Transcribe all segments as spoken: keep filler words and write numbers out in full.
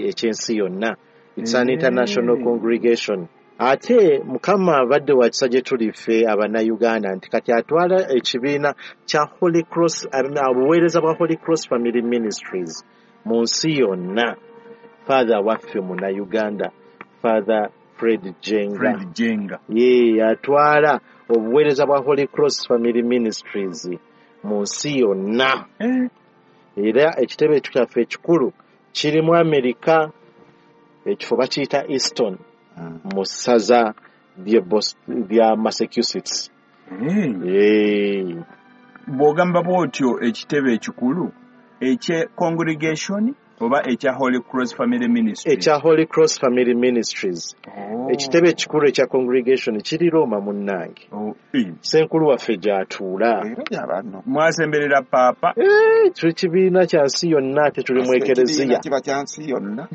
Ekyensi yonna. It's an international congregation. Ate Mukama abadde wa kisa gye tuli ffe Abannayuganda nti kati atwala ekibiina kya Holy Cross, obuweereza bwa Holy Cross Family Ministries mu nsi yonna. Father waffe Munnayuganda, Father Fred Jenga. Fred Jenga. Ye atwala obuweereza bwa Holy Cross Family Ministries mu nsi yonna. Eh. Era ekitebe kyaffe ekikulu kiri mu Amerika, ekifo bakiyita Easton, mu ssaza lya Massachusetts. Eh. Bw'ogamba bw'otyo, ekitebe ekikulu ekye congregation oba ekya Holy Cross Family Ministries? Ekya Holy Cross Family Ministries. Oh. Ekitebe ekikulu ekya congregation kiri Roma, munnange. Oh. Eh. Ssenkulu waffe gy'atuula. Era gy'abanno. Mwasemberera Paapa. Eh, tuli kibiina kya nsi yonna, ate tuli mu ekereziya. Kiba kya nsi yonna.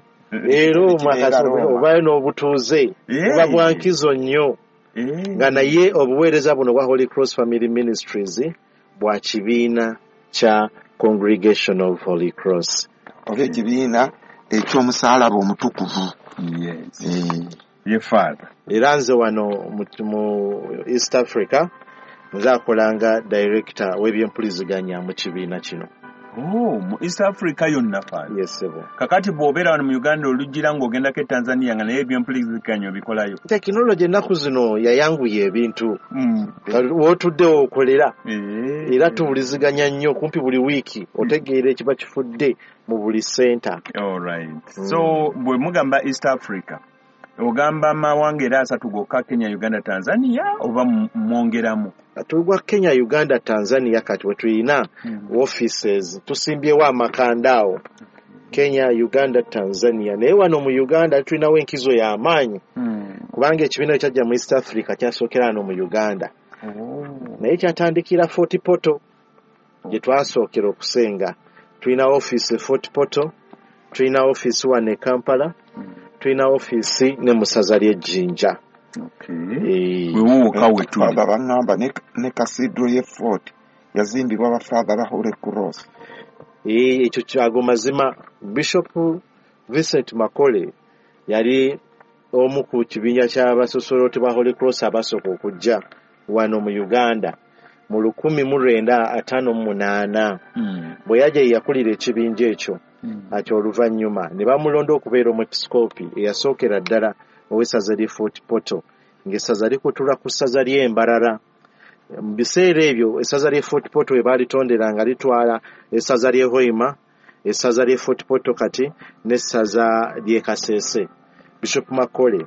Era obayo n'obutuuze Eh. buba bwa nkizo nnyo, Eh. nga naye obuweereza buno bwa Holy Cross Family Ministries bwa kibiina kya Congregation of Holy Cross. Oba ekibiina eky'omusaalaba omutukuvu. Yes. Eh. Ye Father. Era nze wano mu, mu East Africa nze akolanga director w'ebyempuliziganya mu kibiina kino. Oh, mu East Africa yonna, Father? Yes, ssebo. Kakati bw'obeera wano mu Uganda, olugira ng'ogendako e Tanzania, nga naye ebyempuliziganya obikolayo? Tekinologi ennaku zino yayanguya ebintu. Mm. W'otudde okolera. Eh. Era tuwuliziganya nnyo kumpi buli wiiki, otegeera ekiba kifudde mu buli center. All right. So bwe mugamba East Africa, ogamba amawanga era asatu gokka, Kenya, Uganda, Tanzania, oba mu- mwongeramu? Tugwa Kenya, Uganda, Tanzania. Kati we tulina offices, tusimbyewo amakanda awo, Kenya, Uganda, Tanzania. Naye wano mu Uganda tulinawo enkizo y'amaanyi, Mm. kubanga ekibiina ekyajja mu East Africa kyasookera wano mu Uganda. Oh. Naye kyatandikira Fort Portal gye twasookera okusenga. Tulina office e Fort Portal, tulina office wano e Kampala, tulina office ne mu ssaza ly'Ejjinja. Okay. Eh, Wewo wokka we tuli. Father, baŋŋamba ne, ne cathedral ye Fort yazimbibwa bafaatha ba Holy Cross. Eh, ekyo kyago mazima. Bishop Vincent Makole yali omu ku kibinja ky'abasosoloti ba Holy Cross abasooka okujja wano mu Uganda mu lukumi mu lwenda ataano mu munaana. Mm. Bwe yajja, ye yakulira ekibinja ekyo. Mm. Ati oluvannyuma ne bamulonda okubeera omwepisikoopi eyasookera ddala ow'essaza ly'e Fort Portal, ng'essaza likutula ku ssaza ly'Embarara. Mu biseera ebyo essaza ly'e Fort Portal we baalitondera nga litwala essaza ly'e Hoima, essaza ly'e Fort Portal kati n'essaza ly'e Kasese. Bishop Makole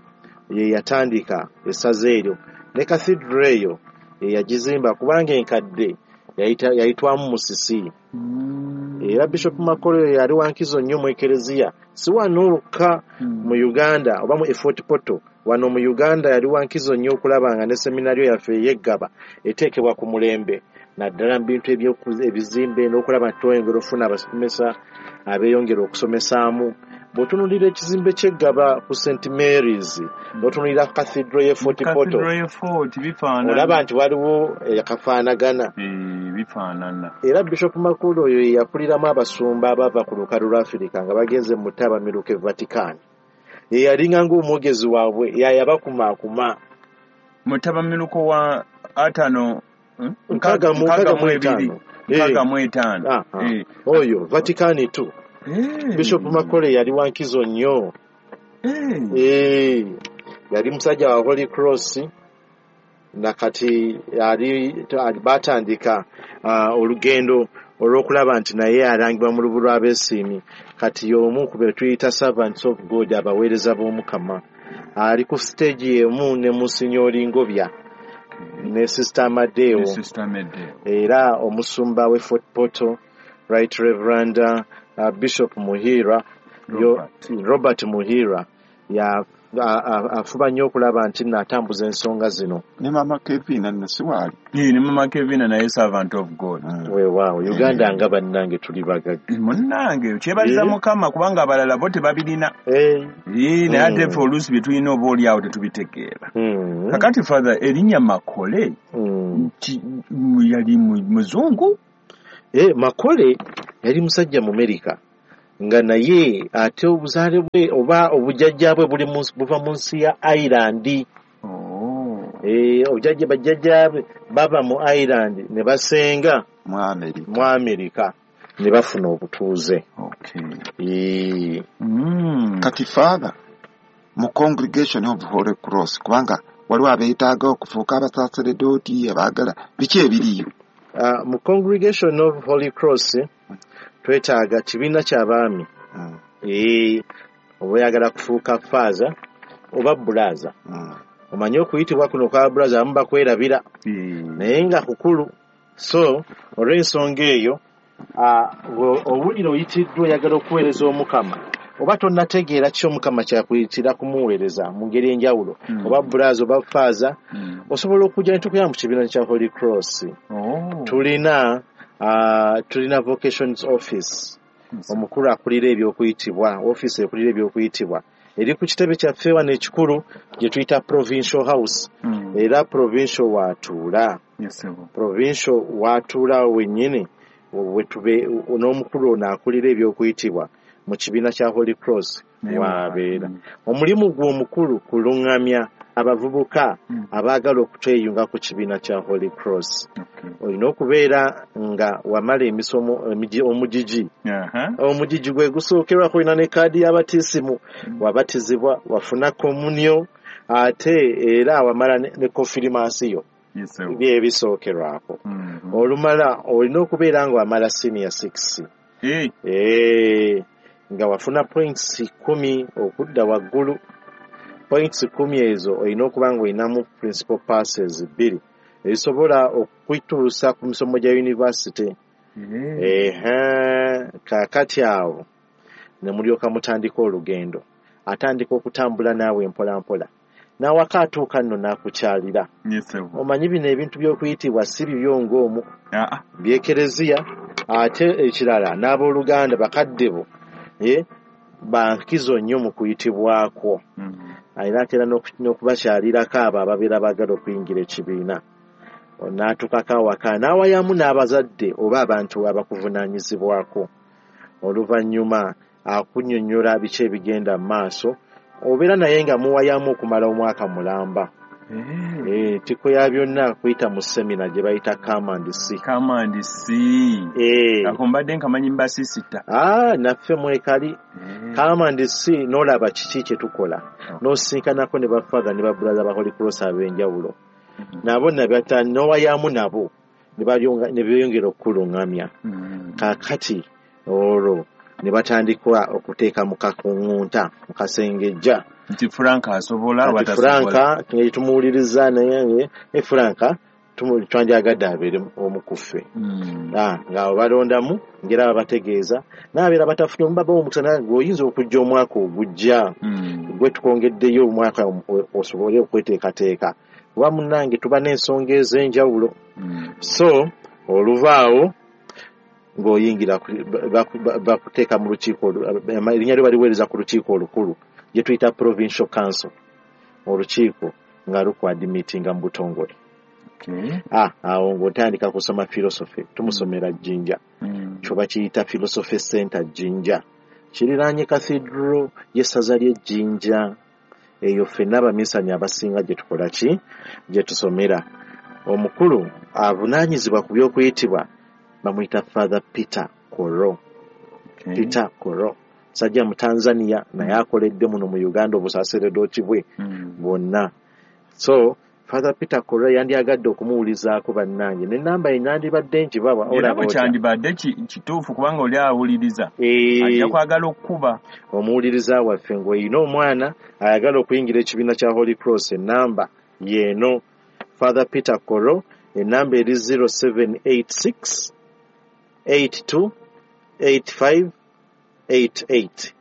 ye yatandika essaza eryo, ne cathedral eyo ye yagizimba, kubanga enkadde yayita- yayitwamu musisi. Mm. Era Bishop Makole yali wankizo nnyo mu ekereziya, si wano wokka Mm. mu Uganda oba mu Fort Portal. Wano mu Uganda yali wankizo nnyo okulaba nga ne seminario yaffe ey'Eggaba eteekebwa ku mulembe, naddala mu bintu ebyoku- ebizimbe n'okulaba nti tweyongera okufuna abasomesa abeeyongera okusomesaamu. Bw'otunuulira ekizimbe ky'Eggaba ku Saint Mary's, n'otunuulira cathedral y'e Fort Portal, Cathedral ye Fort bifaanana. Olaba nti waliwo akafaanagana. Eh, bifaanana. Era Bishop Makule oyo ye yakuliramu abasumba abava ku lukalu lwa Afirika nga bagenze mu ttabamiruka e Vatican. Ye yalinga ng'omwogezi waabwe, yayabakumaakuma. Mutabamiruko wa ataano, hmm? Nkaaga mu- nkaaga mu nkaaga mu ebiri. etaano. Nkaaga mu etaano. Ah, ah. Eh. Oyo Vatican two. Eh. Bishop Makole yali wankizo nnyo. Eh. Eh, yali musajja wa Holy Cross, nakati ali batandika uh, olugendo olw'okulaba nti naye alangibwa mu lubu lw'abeesiimi. Kati y'omu ku be tuyita servants of God, abaweereza b'Omukama. Ali ku stage y'emu ne Monsignor Ngobya ne Sister Amadeo. Ne Sister Amadeo. Era omusumba we Fort Portal, Right Reverend uh, Bishop Muhira yo, Robert. Robert Muhira ya a- a- afuba nnyo okulaba nti nno atambuza ensonga zino. Ne Mama Kevina nno si waali? Eh, ne Mama Kevina naye servant of God. Mm. Weewaawo, Uganda nga bannange tuli bagagga. Munnange, kyebaliza Eh. Mukama, kubanga abalala bo tebabirina. Eh, Eh, naye ate Mm. ffe oluusi bye tulina oba oli awo tetubitegeera. mm, Kakati Father, erinnya Makole, mm. ki- mu- yali mu- muzungu? Eh, Makole yali musajja mu Amerika. Nga naye ate obuzaale bwe oba obujjajja bwe buli buva mu nsi ya Ireland. Oh. Eh, obujjajja bajjajja be bava mu Ireland ne basenga mu Amerika, mu Amerika ne bafuna obutuuze. Okay. Eh. Mm. Kati Father, mu Congregation of Holy Cross, kubanga waliwo abeetaaga okufuuka abasaseredooti abaagala biki ebiriyo? Uh, mu Congregation of Holy Cross twetaaga kibiina ky'abaami. Mm. Eh, oba oyagala kufuuka faaza oba bulaaza. Mm. Omanyi okuyitibwa kuno kwa bulaaza abamu bakwerabira. Mm. Naye nga kukulu. So olw'ensonga eyo, owulira oyitiddwa oyagala okuweereza Omukama, oba tonnategeera ki Omukama kyakuyitira kumuweereza mu ngeri enjawulo, Mm. oba bulaaza oba faaza, Mm. osobola okujja ne tukuyamba mu kibiina kya Holy Cross. Oh. Tulina Uh, tulina vocations office. Yes. Omukulu akulira ebyokuyitibwa, office ekulira ebyokuyitibwa eri ku kitebe kyaffe wano ekikulu gye tuyita Provincial House. Mm. Era provincial waatuula. Yes, sir. Provincial waatuula wennyini wetube n'omukulu ono akulira ebyokuyitibwa mu kibiina kya Holy Cross waabeera. Mm. Omulimu gwe omukulu kuluŋŋamya abavubuka Mm. abaagala okutweyunga ku kibiina kya Holy Cross. Okay. Olina okubeera nga wamala emisomo omugigi. Uh-huh. Omugigi gwe gusookerwako, olina ne kaadi y'abatisimu, Mm. wabatizibwa, wafuna komunyo, ate era wamala ne, ne konfirmasiyo. Yes, sir. Bye ebisookerwako. Mm-hmm. Olumala olina okubeera nga wamala senior six. Hey. Eh, nga wafuna points kumi okudda waggulu. Points kumi ezo olina okuba nga olinamu principal passes bbiri ezisobola okutuusa ku misomo gya university. Ehe, kaakati awo ne mulyoka mutandika olugendo. Atandika okutambula naawe mpola mpola. N'awaka atuuka nno n'akukyalira. Yes, sir. Omanyi bino ebintu by'okuyitibwa si bibyo ng'omu. Ah. By'ekereziya, ate ekirala n'abooluganda bakadde bo, eh, bankizo nnyo mu kuyitibwakwo. Mm. Alina atera n'okubakyalirako abo ababeera baagala okuyingira ekibiina. N'atuukako awaka n'awayamu n'abazadde oba abantu abakuvunaanyizibwako. Oluvannyuma akunnyonnyola biki ebigenda mu maaso, obeera naye nga muwayamu okumala omwaka mulamba. Eh, Ettiko ya byonna kuyita mu semina gye bayita come and see. Come and see. Eh. Ako mbadde nkamanyi mbasisita. Ah, naffe mwekali. Eh. Come and see n'olaba kiki kye tukola. Oh. N'osisinkanako ne bafather ne babrother ba Holy Cross ab'enjawulo. Mm-hmm. Nabo nabata n'owayamu nabo ne balyonga ne beeyongera okukuluŋŋamya. Mm. Kaakati olwo ne batandika okuteeka mu kakuŋŋunta mu kasengejja. Nti Frank asobola Kati Frank tumuwuliriza naye ne Frank twandyagadde abeere omu ku ffe. Mm. Ah, nga balondamu ngera babategeeza n'abeera batafunye omubaba omukisa naye ng'oyinza okujja omwaka ogujja. Mm. Gwe tukwongeddeyo omwaka osobole okweteekateeka. Kuba munnange tuba n'ensonga ez'enjawulo. Mm. So oluvaawo ng'oyingira bakuteeka mu lukiiko, erinnya lyo baliweereza ku lukiiko olukulu gye tuyita Provincial Council, olukiiko nga lukwadimitinga mu butongole. Okay. Ah, awo ng'otandika kusoma philosophy, tumusomera Jinja. Mm. Kyo bakiyita Philosophy Center Jinja. Kiriraanye Cathedral y'essaza ly'e Jinja. Eyo ffenna abaminsani abasinga gye tukola ki? Gye tusomera. Omukulu avunaanyizibwa ku by'okuyitibwa bamuyita Father Peter Koro. Okay. Peter Koro. Sajja mu Tanzania naye akoledde muno mu Uganda obusaseredooti bwe mm. bwonna. So Father Peter Koro yandyagadde okumuwulizaako bannange n'ennamba ye nandibadde ngibawa. Era bwe kyandibadde kituufu kubanga oli awuliriza e... ajja kwagala okukuba. Omuwuliriza waffe ng'olina omwana ayagala okuyingira ekibiina kya Holy Cross, ennamba y'eno. Father Peter Koro, ennamba eri zero seven eight six eight two eight five eight eight.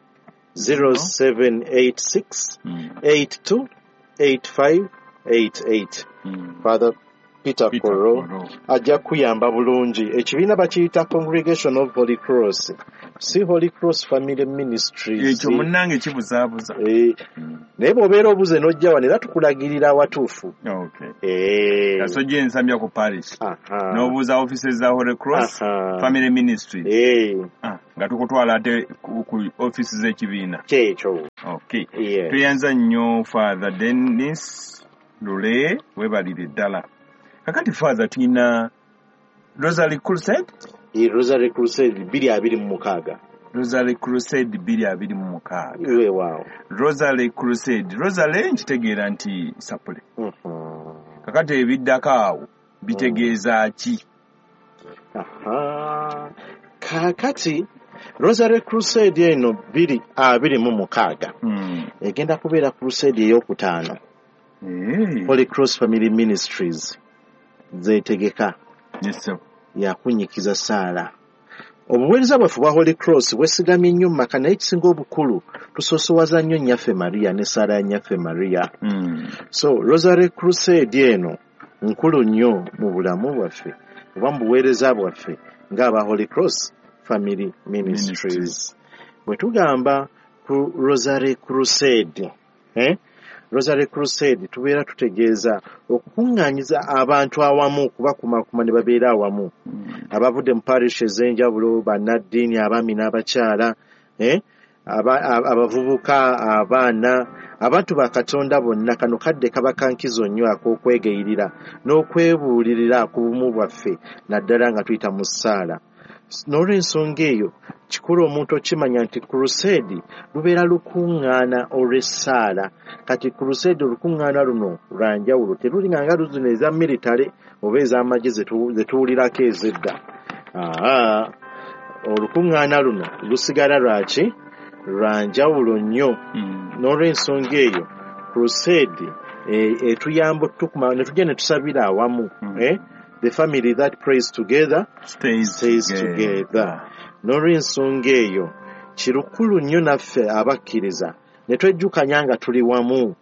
zero seven eight six eight two eight five eight eight. Mm. Father Peter, Peter Koro Koro ajja kuyamba bulungi. Ekibiina bakiyita Congregation of Holy Cross, si Holy Cross Family Ministries. Ekyo munnange kibuzaabuza. E, mm. Naye bw'obeera obuze n'ojja wano era tukulagirira awatuufu. Okay. E. Kasojja ensambya ku parish. Aha. N'obuuza offices za Holy Cross Aha. Family Ministries. E. Ah, Nga tukutwala ate ku, ku office z'ekibiina. Kyekyo. Okay. Yes. Tweyanza nnyo Father Dennis Lule, weebalire ddala. Kakati Father, tulina Rosary Crusade? E Rosary Crusade bbiri abiri mu mukaaga. Rosary Crusade bbiri abiri mu mukaaga. Weewaawo. Rosary Crusade. Rosary nkitegeera nti sapule. Mhm. Kakati ebiddako awo bitegeeza ki? Aha. Kaakati Rosary Crusade eno bbiri abiri mu mukaaga Mm. egenda kubeera crusade ey'okutaano. Eh, Holy Cross Family Ministries zeetegeka yes, sir. yakunyikiza ssaala. Obuweereza bwaffe bwa Holy Cross bwesigamye nnyo mu maka, naye ekisinga obukulu tusoosowaza nnyo Nnyaffe Maria ne ssaala ya Nnyaffe Maria. Mm. So Rosary Crusade eno nkulu nnyo mu bulamu bwaffe oba mu buweereza bwaffe ng'aba Holy Cross Family Ministries. Ministries. Bwe tugamba ku Rosary Crusade, eh? Rosary Crusade tubeera tutegeeza okukuŋŋaanyiza abantu awamu, okubakumaakuma ne babeera awamu. Mm. Abavudde mu parish ez'enjawulo, bannaddiini, abaami n'abakyala, eh? Aba- aba- abavubuka, abaana, abantu ba Katonda bonna. Kano kadde kaba kankizo nnyo ak'okwegayirira n'okwebuulirira ku bumu bwaffe, naddala nga tuyita mu ssaala. N'olw'ensonga eyo kikulu omuntu okimanya nti crusade lubeera lukuŋŋaana olw'essaala. Kati crusade olukuŋŋaana luno lwa njawulo, terulinga nga luzino eza military oba ez'amagye zetu- zetuwulirako ez'edda. Aa, olukuŋŋaana luno lusigala lwaki? Lwa njawulo nnyo. Mm. N'olw'ensonga eyo crusade e- etuyamba otutukuma ne tujja ne tusabira awamu. Mm. Eh? The family that prays together Stays, stays together. N'olw'ensonga eyo kirukulu nnyo naffe abakkiriza ne twejjukanya nga tuli wamu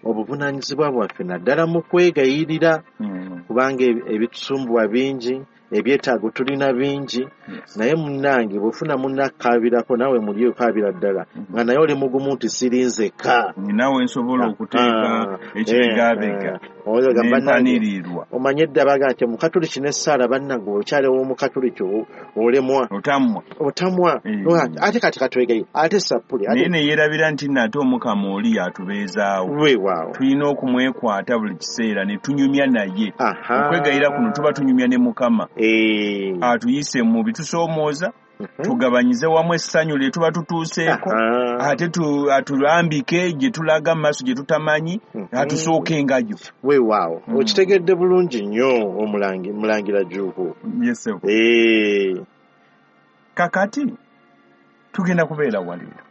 obuvunaanyizibwa bwaffe naddala mu kwegayirira, Mm. kubanga ebi- ebitusumbuwa bingi, ebyetaago tulina bingi. Yes. Naye munnange bw'ofuna munnakkaabirako naawe muli okaabira ddala nga naye oli mugumu nti siri nzekka. Ninawe nsobola okuteeka Ah, ekibegabega eh, eh. Oyogamba bannange, nempanirirwa. omanye edda baga nti omukatuliki n'essaala bannange okyaliwo omukatuliki o- olemwa Otamwa. otamwa. Eh. Ate kati katwegaye ate sappuli Naye ate ne yeerabira nti nno ate Omukama oli atubeezaawo. Weewaawo. Tulina okumwekwata buli kiseera ne tunyumya naye. Aha. Okwegayira kuno tuba tunyumya ne Mukama. Eh. Atuyise mu bitusoomooza, Mhm. tugabanyize wamu essanyu lye tuba tutuuseeko, Aha. ate tu- atulambike gye tulaga mu maaso gye tutamanyi, Mhm. atusookengayo. Weewaawo. Mm. Okitegedde bulungi nnyo omulangi mulangira Jjuuko. Yes, sir. Eh. Kakati tugenda kubeera waleero.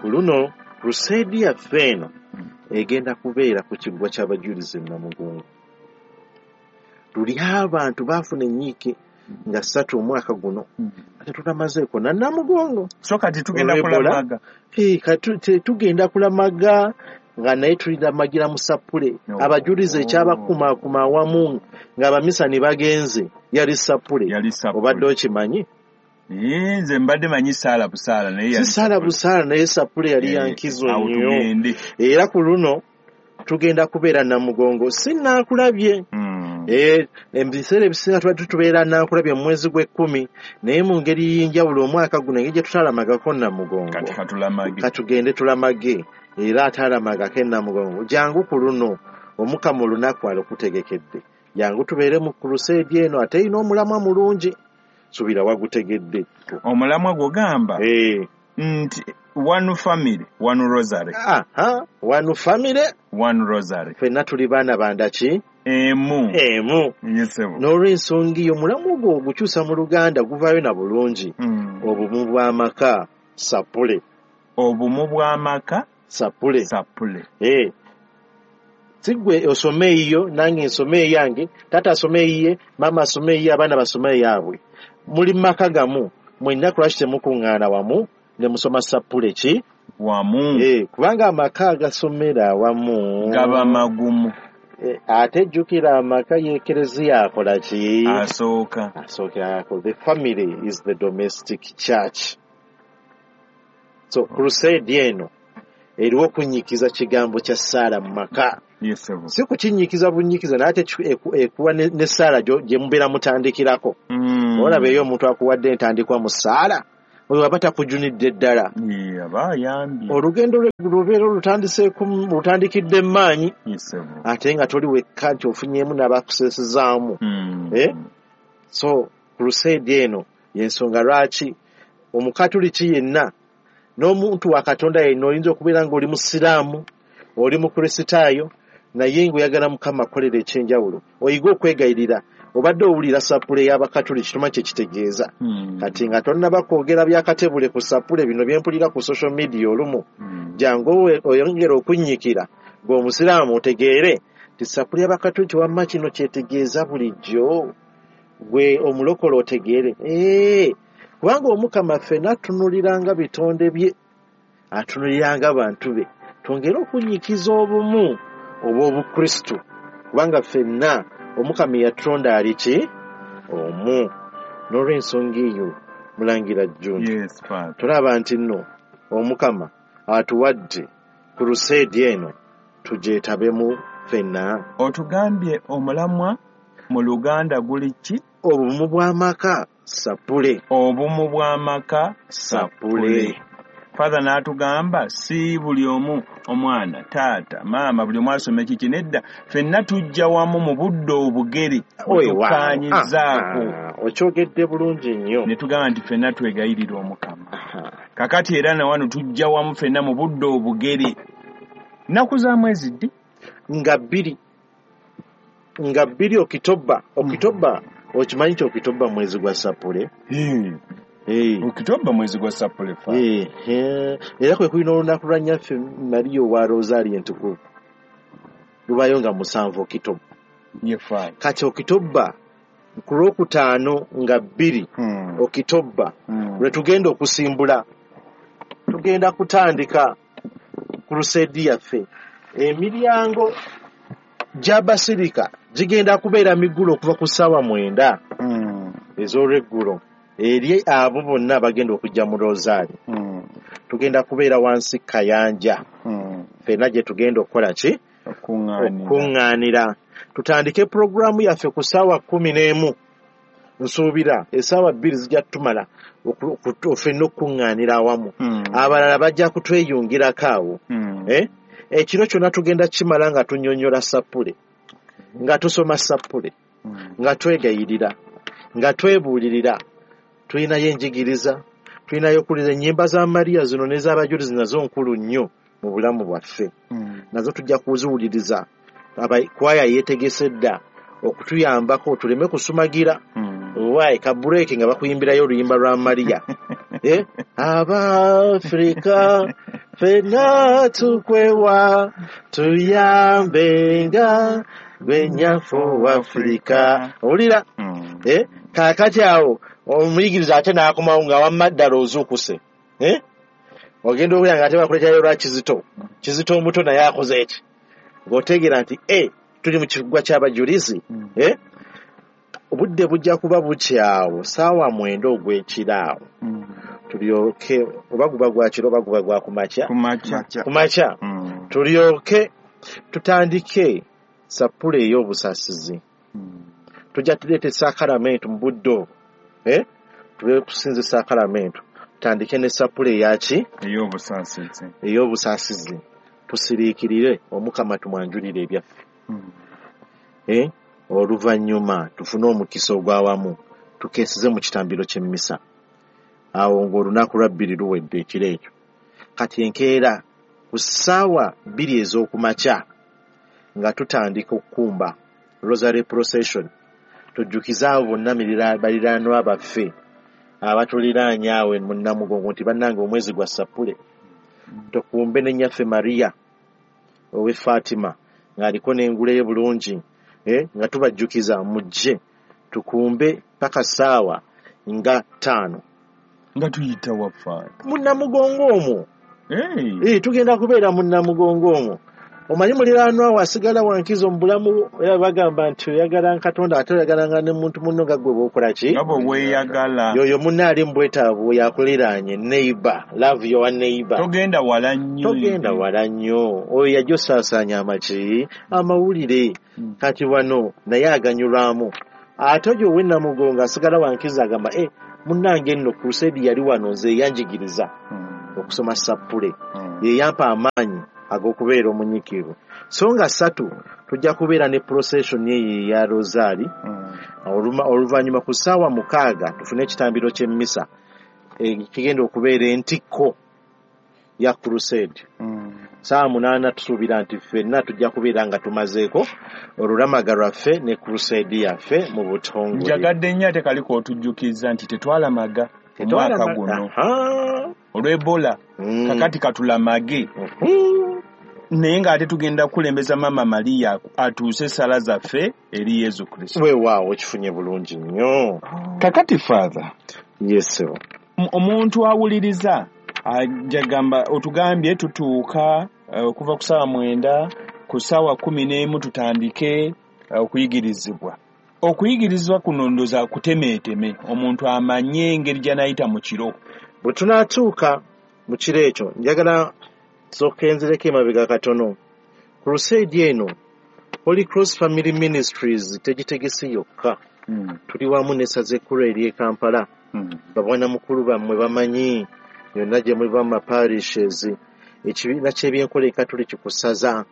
Ku luno crusade yaffe eno egenda kubeera ku kiggwa ky'abajulizi e Namugongo. Luli abantu baafuna ennyiike nga ssatu omwaka guno ate tutamazeeko na Namugongo. So kati tugenda Olw'Ebola. kulamaga. Eh, kati te- tugenda kulamaga nga naye tuliramagira mu sappule. Oh. Abajulizi ekyabakumaakuma awamu ng'abamisani bagenze yali sappule. Yali sappule. Obadde okimanyi? Eh, nze mbadde manyi saala busaala naye Si yali saala sappule. busaala naye sappule yali Eh, ya nkizo awo nnyo. tugende. Era ku luno tugenda kubeera Namugongo. Si naakulabye. Mm. Eh, ebiseera ebisinga tubadde tubeera naakulabye mu mwezi gw'ekkumi, naye mu ngeri y'enjawulo omwaka guno engeri gye tutalamagako Namugongo. Kati katulamage. Katugende tulamage, era ataalamagako e Namugongo jangu ku luno Omukama olunaku alukutegekedde. Jangu tubeere mu crusade eno ate erina omulamwa mulungi. Suubira wagutegedde. Omulamwa gw'ogamba Eh. nti one family, one rosary. Aha, one family, One rosary. ffenna tuli baana bandaki Emu. emu. Yes, sir. N'olw'ensonga eyo omulamwa ogwo ogukyusa mu Luganda guvaayo na bulungi. Mm. Obumu bw'amaka sappule. Obumu bw'amaka Sappule. sappule. Eh. Si ggwe osome eyiyo nange nsome eyange, taata asome eyiye, maama asome eyiye, abaana basome eyaabwe. Muli mu maka gamu, mwenna lwaki temukuŋŋaana wamu ne musoma sappule ki? Wamu. Eh, kubanga amaka agasomera awamu Gaba magumu. Eh, ate jjukira amaka y'ekereziya akola ki? Asooka. Asookera. The family is the domestic church. So crusade eno eriwo okunyikiza kigambo kya ssaala mu maka. Yes, sir. Si kukinyikiza bunyikiza naye ate kiku- eku- ekuwa ne ne ssaala gyo- gye mubeera mutandikirako. Mm. Olaba eyo omuntu akuwadde entandikwa mu ssaala Oyo aba takujunidde ddala. Ye, aba ayambye. Olugendo lw'eggulu lubeera olutandiseeku, lutandikidde mu maanyi. Yes, ssebo. Ate nga toli wekka nti ofunyeemu n'abakuseesezaamu. Mm. Eh? So crusade eno y'ensonga lwaki omukatuliki yenna n'omuntu wa Katonda yenna oyinza okubeera ng'oli musiraamu, oli mukristaayo, naye ng'oyagala Mukama akolera ekyenjawulo, oyige okwegayirira. Obadde owulira sapule y'abakatuliki tomanyi kye kitegeeza. Mm. Kati nga tonnaba kwogera bya katebule ku sapule bino bye mpulira ku social media olumu, Mm. jangu owe-, oyongere okunnyikira ng'omusiraamu otegeere nti sapule y'abakatuliki wamma kino kyetegeeza bulijjo, gwe omulokole otegeere. Ee, kubanga Omukama ffenna atunuliranga bitonde bye, atunuliranga bantu be, twongere okunnyikiza obumu obw'Obukristu, kubanga ffenna Omukama eyatutonda ali ki? Omu. N'olw'ensonga eyo Mulangira Jjunju, Yes, Father. tulaba nti nno Omukama atuwadde crusade eno tugyetabemu ffenna. Otugambye omulamwa mu Luganda guli ki? Obumu bw'amaka sapule. Obumu bw'amaka sapule. Father n'atugamba si buli omu omwana, taata, maama, buli omu asoma ekiki, nedda ffenna tujja wamu mu budde obugere Oyo, waawo. tukaanyizaako. Ah, ah, okyogedde bulungi nnyo. Ne tugamba nti ffenna twegayirira Omukama. Aha. Kakati era na wano tujja wamu ffenna mu budde obugere. Nnaku za mwezi ddi? Nga bbiri. Nga bbiri Okitoba. Okitoba, okimanyi nti Okitoba mwezi gwa sapule? Hmm. Eh. Okitoba mwezi gwa sapule fa. Eh, eh. Era kwe kulina olunaku lwa Nnyaffe Maria owa Rosario entukuvu. Lubayo nga musanvu Okitoba. Ye fa. Kati Okitoba ku lwokutaano nga bbiri Hmm. Okitoba Hmm. lwe tugenda okusimbula. Tugenda kutandika crusade yaffe. Emiryango gya basirika gigenda kubeera miggulo okuva ku ssaawa mwenda Hmm. ez'olweggulo eri abo bonna abagenda okujja mu Rosario. Hmm. Tugenda kubeera wansi Kayanja. Hmm. Ffenna gye tugenda okukola ki? Okuŋŋaanira. Okuŋŋaanira. Tutandike pulogulaamu yaffe ku ssaawa kkumi n'emu. Nsuubira essaawa bbiri zijja kutumala oku-, oku-, ffenna okuŋŋaanira awamu. Hmm. Abalala bajja kutweyungirako awo. Hmm. Eh? Ekiro kyonna tugenda kimala nga tunnyonnyola sapule, nga tusoma sapule, Hmm. nga twegayirira, nga twebuulirira. Tulinayo enjigiriza, tulinayo okuwuliriza ennyimba za Maria zino n'ez'abajulizi nazo nkulu nnyo mu bulamu bwaffe. Hmm. Nazo tujja kuziwuliriza. Aba-, kwaya yeetegese dda okutuyambako tuleme kusumagira. Hmm. Waayi, ka break nga bakuyimbirayo oluyimba lwa Maria. Eh? Abafrika ffenna tukwewa, tuyambenga gwe nnyaffe ow'Afrika. Owulira? Hmm. Eh? Kaakati awo omuyigiriza ate n'akomawo nga wamma ddala ozuukuse. Eh? Ogenda owulira nga ate bakuleeterayo lwa Kizito. Kizito omuto naye akoze eki? Ng'otegeera nti, eh, tuli mu kigwa ky'abajulizi. Hmm. Eh? Obudde bujja kuba bukyawo ssaawa mwenda ogw'ekiro awo. Hmm. Tulyoke, oba guba gwa kiro oba guba gwa kumakya. Kumakya. Kumakya. Hmm. Tulyoke tutandike sapule ey'obusaasizi. Hmm. Tujja tuleeta esaakalamentu mu budde obwo. Eh? Tube kusinza esaakalamentu. Tutandike ne sapule eyaki? Ey'obusaasizi. Ey'obusaasizi. Tusiriikirire Omukama tumwanjulire ebyaffe. Hmm. Eh? Oluvannyuma tufune omukisa ogw'awamu tukeeseze mu kitambiro ky'emmisa. Awo ng'olunaku lwa bbiri luwedde ekiro ekyo. Kati enkeera ku ssaawa bbiri ez'okumakya nga tutandika okukumba Rosary Procession, tujjukize abo bonna mirira-, baliraanwa baffe abatuliraanye awo mu Namugongo nti bannange omwezi gwa sapule. Tukumbe ne Nnyaffe Maria ow'e Fatima ng'aliko n'engule ye bulungi, eh, nga tubajjukiza mujje tukumbe paka ssaawa nga ttaano. Nga tuyita wa Fatima? Mu Namugongo omwo. Hey. Eh, tugenda kubeera mu Namugongo omwo. Omanyi muliraanwa wo asigala wankizo mu bulamu, era bagamba nti oyagala Katonda ate oyagalanga ne muntu munno nga ggwe bw'okola ki? Nga bwe weeyagala. Y'oyo munno ali mu bwetaavu yakuliraanye, neighbor, love your neighbor. Togenda wala nnyo. Togenda wala nnyo. Oyo yajja osaasaanya amaki? Amawulire. Hmm. Kati wano naye aganyulwamu. Ate oyo ow'e Namugongo asigala wankizo agamba, eh, Munnange nno crusade yali wano nze eyanjigiriza okusoma sappule, yeyampa amaanyi ag'okubeera omunyiikivu. So nga ssatu tujja kubeera ne procession eyo eya Rosaali. Oluvannyuma ku ssaawa mukaaga tufune ekitambiro ky'emmisa ekigenda okubeera entikko ya crusade. Ssaawa munaana tusuubira nti ffenna tujja kubeera nga tumazeeko olulamaga lwaffe ne crusade yaffe mu butongole. Njagadde nnyo ate kaliko otujjukiza nti tetwalamaga omwaka guno olw'Ebola, kakati katulamage. Naye ng'ate tugenda kukulembeza Maama Maria atuuse essala zaffe eri Yesu Kristo. Weewaawo kifunye bulungi nnyo. Kakati Father, yes, omuntu awuliriza ajagamba otugambye tutuuka okuva ku ssaawa mwenda ku ssaawa kumi n'emu tutandike okuyigirizibwa. Okuyigirizibwa kuno ndoza kutemeeteme omuntu amanye engeri gy'anaayita mu kiro. Bwe tunaatuuka mu kiro ekyo njagala nsooke nzireko emabega katono. Crusade eno Holy Cross Family Ministries tegitegese yokka. Tuli wamu n'essaza ekkulu ery'e Kampala. Babwana mukulu bammwe bamanyi yonna gye muva mu maparishes, ekibiina ky'ebyenkola ekatoliki ku ssaza,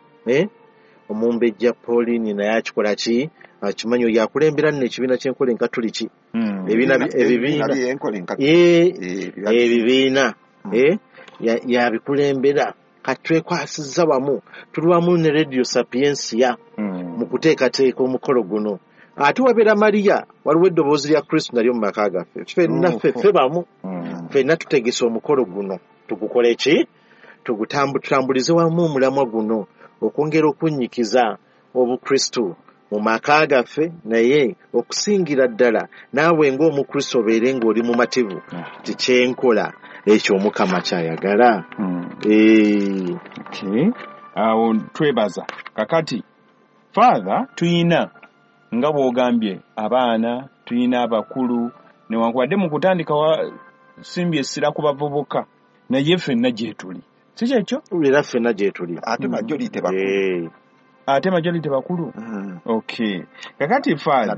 omumbejja Pauline naye akikola ki? Akimanyi oyo akulembera nno ekibiina ky'enkola enkatoliki. Ebibiina ebibiina yabikulembera. Kati twekwasizza wamu, tuli wamu ne Radio Sapientia mu kuteekateeka omukolo guno. Ate wabeera Maria, waliwo eddoboozi lya Kristo nalyo mu maka gaffe. Ffenna ffe ffe bamu, ffenna tutegese omukolo guno. Tugukole ki? Tugutambulize wamu omulamwa guno okwongera okunnyikiza Obukristo mu maka gaffe, naye okusingira ddala naawe ng'Omukristo obeere ng'oli mumativu nti kyenkola ekyo Omukama ky'ayagala. Awo twebaza. Kakati Father, tuyina nga bw'ogambye abaana, tuyina abakulu, newankubadde mu kutandika wasimbye essira ku bavubuka, naye ffenna gye tuli. Si kyekyo? Era ffenna gye tuli. Ate majority bakulu. Ate majority bakulu? Okay. Kakati Father,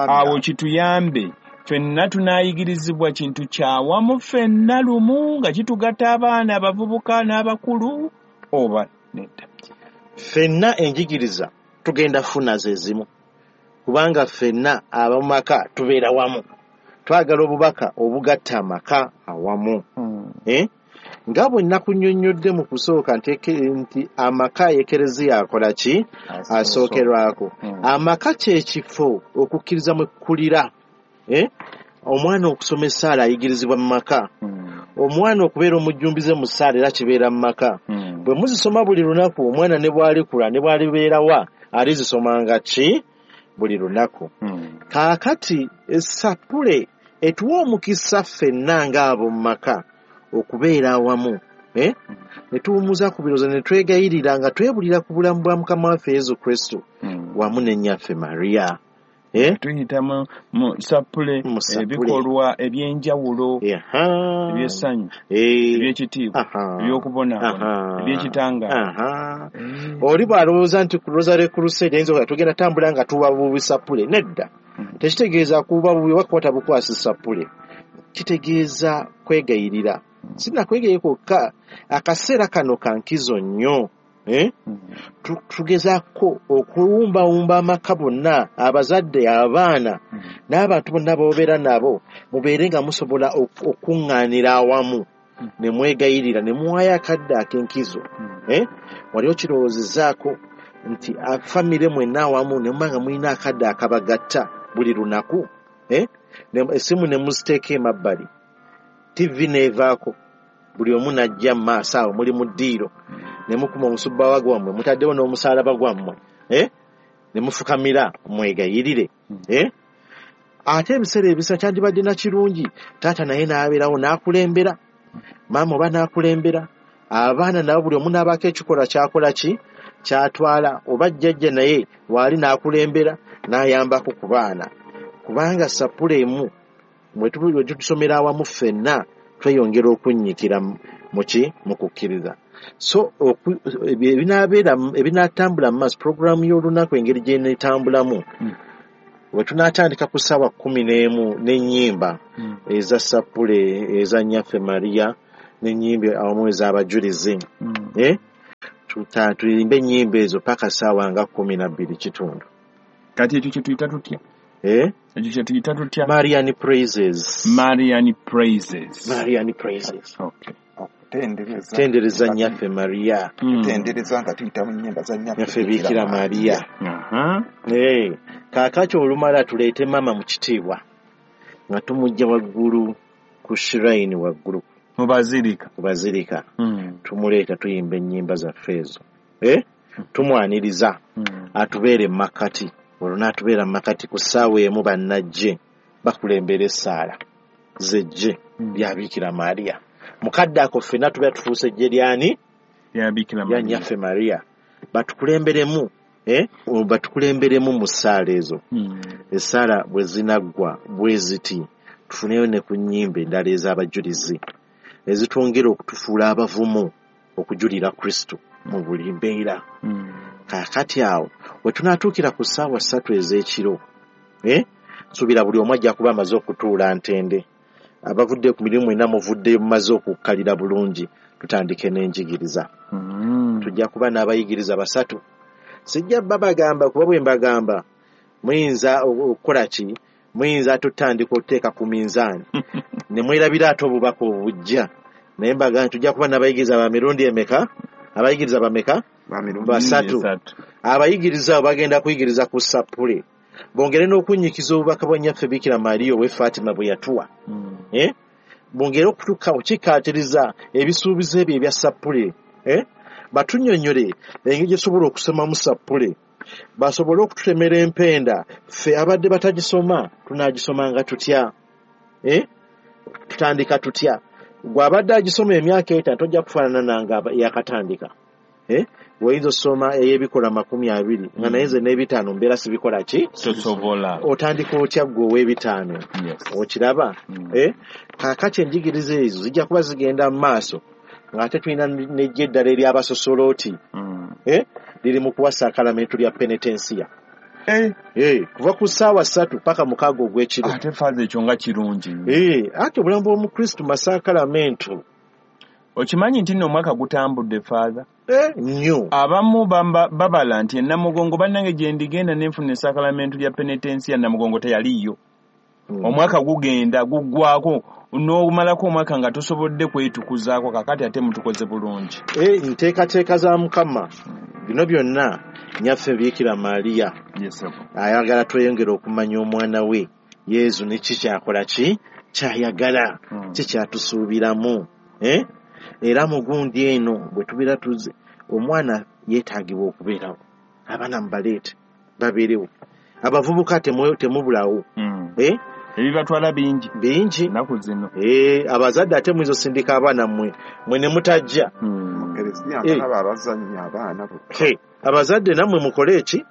awo kituyambe ffenna tunaayigirizibwa kintu kyawamu ffenna lumu nga kitugatta abaana, abavubuka n'abakulu oba nedda? Ffenna enjigiriza tugenda funa ze zimu, kubanga ffenna ab'amaka tubeera wamu. Twagala obubaka obugatta amaka awamu. Nga bwe nnakunnyonnyodde mu kusooka nti amaka Ekereziya akola ki? Asookerwako. Amaka kye kifo okukkiriza mwe kukulira. Omwana okusoma essaala ayigirizibwa mu maka. Omwana okubeera omujjumbize mu ssaala era kibeera mu maka. Bwe muzisoma buli lunaku, omwana ne bw'alikula ne bw'alibeerawa alizisomanga ki? Buli lunaku. Kaakati essapule etuwa omukisa ffenna ng'abo mu maka okubeera awamu, ne tuwummuza ku birowoozo ne twegayirira nga twebulira ku bulamu bwa Mukama waffe Yesu Kristo wamu ne nnyaffe Maria. Tuyita mu sappule ebikolwa ebyenjawulo, ebyessanyu, ebyekitiibwa, ebyokubonaabona, ebyekitangaala. Oli bw'alowooza nti ku Rosary Crusade ayinza okuba tugenda tambula nga tuwa bubi sappule, nedda. Tekitegeeza kuba bubi wakwata bukwasi sappule, kitegeeza kwegayirira. Sinakwegayirira kwokka, akaseera kano ka nkizo nnyo. Tugezaako okuwumbawumba amaka bonna, abazadde, abaana n'abantu bonna b'obeera nabo, mubeere nga musobola okuŋŋaanira awamu ne mwegayirira ne muwaayo akadde ak'enkizo. Wali okirowoozezaako nti famire mwenna awamu ne muba nga mulina akadde akabagatta buli lunaku, essimu ne muziteeka emabbali, T V n'evaako, buli omu n'ajja mu maaso awo muli mu ddiiro, ne mukuma omusubbawa gwammwe, mutaddewo n'omusaalaba gwammwe, ne mufukamira mwegayirire. Ate ebiseera ebisa kyandibadde na kirungi taata naye n'abeerawo n'akulembera, maama oba n'akulembera, abaana nabo buli omu n'abaako ekikolwa ky'akola ki ky'atwala, oba jjajja naye waali n'akulembera n'ayambako ku baana, kubanga sappule emu mwe tutusomera awamu ffenna tweyongera okunnyikira muki mu kukkiriza. So ebinaabeera ebinaatambula mu maaso, puroguraamu y'olunaku engeri gy'eneetambulamu, Bwe tunaatandika ku ssaawa kkumi n'emu n'ennyimba Mm. eza sappule eza Nnyaffe Maria n'ennyimba awamu ez'abajulizi. Mm. Eh? Tuta- Tuyimbe ennyimba ezo paka ssaawa nga kkumi na bbiri kitundu. Kati ekyo kye tuyita tutya? Eh? Ekyo kye tuyita tutya? Marian praises. Marian praises. Marian praises. Okay. Okutendereza. Tendereza Nnyaffe Maria. Mm. Kutendereza nga tuyita mu nnyimba za Nnyaffe Nnyaffe Bikira Maria. Aha. Eh, kaakati olumala tuleete maama mu kitiibwa nga tumujja waggulu ku shrine waggulu Mu bazirika. ku bazirika Mm. tumuleeta tuyimba ennyimba zaffe ezo. Eh? Tumwaniriza Mm. atubeere mu makkati olwo n'atubeera mu makkati ku ssaawa emu bannajje bakulembera essaala zejje Mm. lya Bikira Maria. Mukadde ako ffenna tubeera tufuuse ejje lyani Ya Bikira lya Maria. Nnyaffe Maria batukulemberemu eh? batukulemberemu mu ssaala ezo. Mm. Essaala bwe zinaggwa bwe ziti tufuneyo ne ku nnyimba endala ez'abajulizi ezitwongera okutufuula abavumu okujulira Kristo mu buli mbeera. Mm. Kaakati awo we tunaatuukira ku ssaawa ssatu ez'ekiro eh? nsuubira buli omu ajja kuba amaze okutuula ntende abavudde ku mirimu mwenna muvuddeyo mumaze okukkalira bulungi tutandike n'enjigiriza. Mm. Tujja kuba n'abayigiriza basatu. Sijja babagamba kuba bwe mbagamba muyinza okukola ki muyinza ate otutandika okuteeka ku minzaani ne mwerabira ate obubaka obujja naye mbagamba tujja kuba n'abayigiriza ba mirundi emeka abayigiriza bameka Ba mirundi basatu. Esatu. Abayigiriza abo bagenda kuyigiriza ku sappule bongere n'okunnyikiza obubaka bwa Nnyaffe Bikira Maria ow'e Fatima bwe yatuwa. Mm. Eh? Bongere okutuka okukikkaatiriza ebisuubizo ebyo ebya sappule. Eh? Batunnyonnyole engeri gye tusobola okusomamu sappule basobole okututemera empenda ffe abadde batagisoma tunaagisomanga tutya? Eh? Tutandika tutya? Gwe abadde agisoma emyaka etaano tojja kufaanana nange aba- eyakatandika. Eh? Oyinza osoma ey'ebikola makumi abiri nga naye nze n'ebitaano mbeera sibikola ki? Tosobola. Otandika otya ggwe ow'ebitaano? Yes. Okiraba? Mm. Eh? Kaakati enjigiriza ezo zijja kuba zigenda mu maaso ng'ate tulina n'ejja eddala ery'abasosolooti. Mm. Eh? Liri mu kuwa saakalamentu lya penetensiya. Eh, Eh, kuva ku ssaawa ssatu paka mukaaga ogw'ekiro. ate faaza ekyo nga kirungi nnyo. Eh, ate obulamu bw'Omukristu masaakalamentu. Okimanyi nti nno omwaka gutambudde faaza? Eh, nnyo. Abamu bamba- babala nti Namugongo bannange gye ndigenda ne nfuna esaakalamentu lya penetensiya Namugongo teyaliiyo. Mm. Omwaka gugenda guggwako n'omalako omwaka nga tosobodde kwetukuzaako kakati ate mutukoze bulungi. Eh, nteekateeka za Mukama. Bino byonna Nnyaffe Bikira Maria Yes, sir. ayagala tweyongere okumanya omwana we Yezu ne ki kyakola ki kyayagala Mm. ki kyatusuubiramu. Eh? Era mu gundi eno bwe tubeera tuze omwana yeetaagibwa okubeerawo abaana mubaleete babeerewo abavubuka temu- temubulawo. Mm. Eh? Ebibatwala bingi bingi. ennaku zino. Eh, abazadde ate muyinza osindika abaana mmwe mwe ne mutajja. Mm. Kereziya Eh. nbalaba abazannya abaana bokka. He, abazadde nammwe mukole eki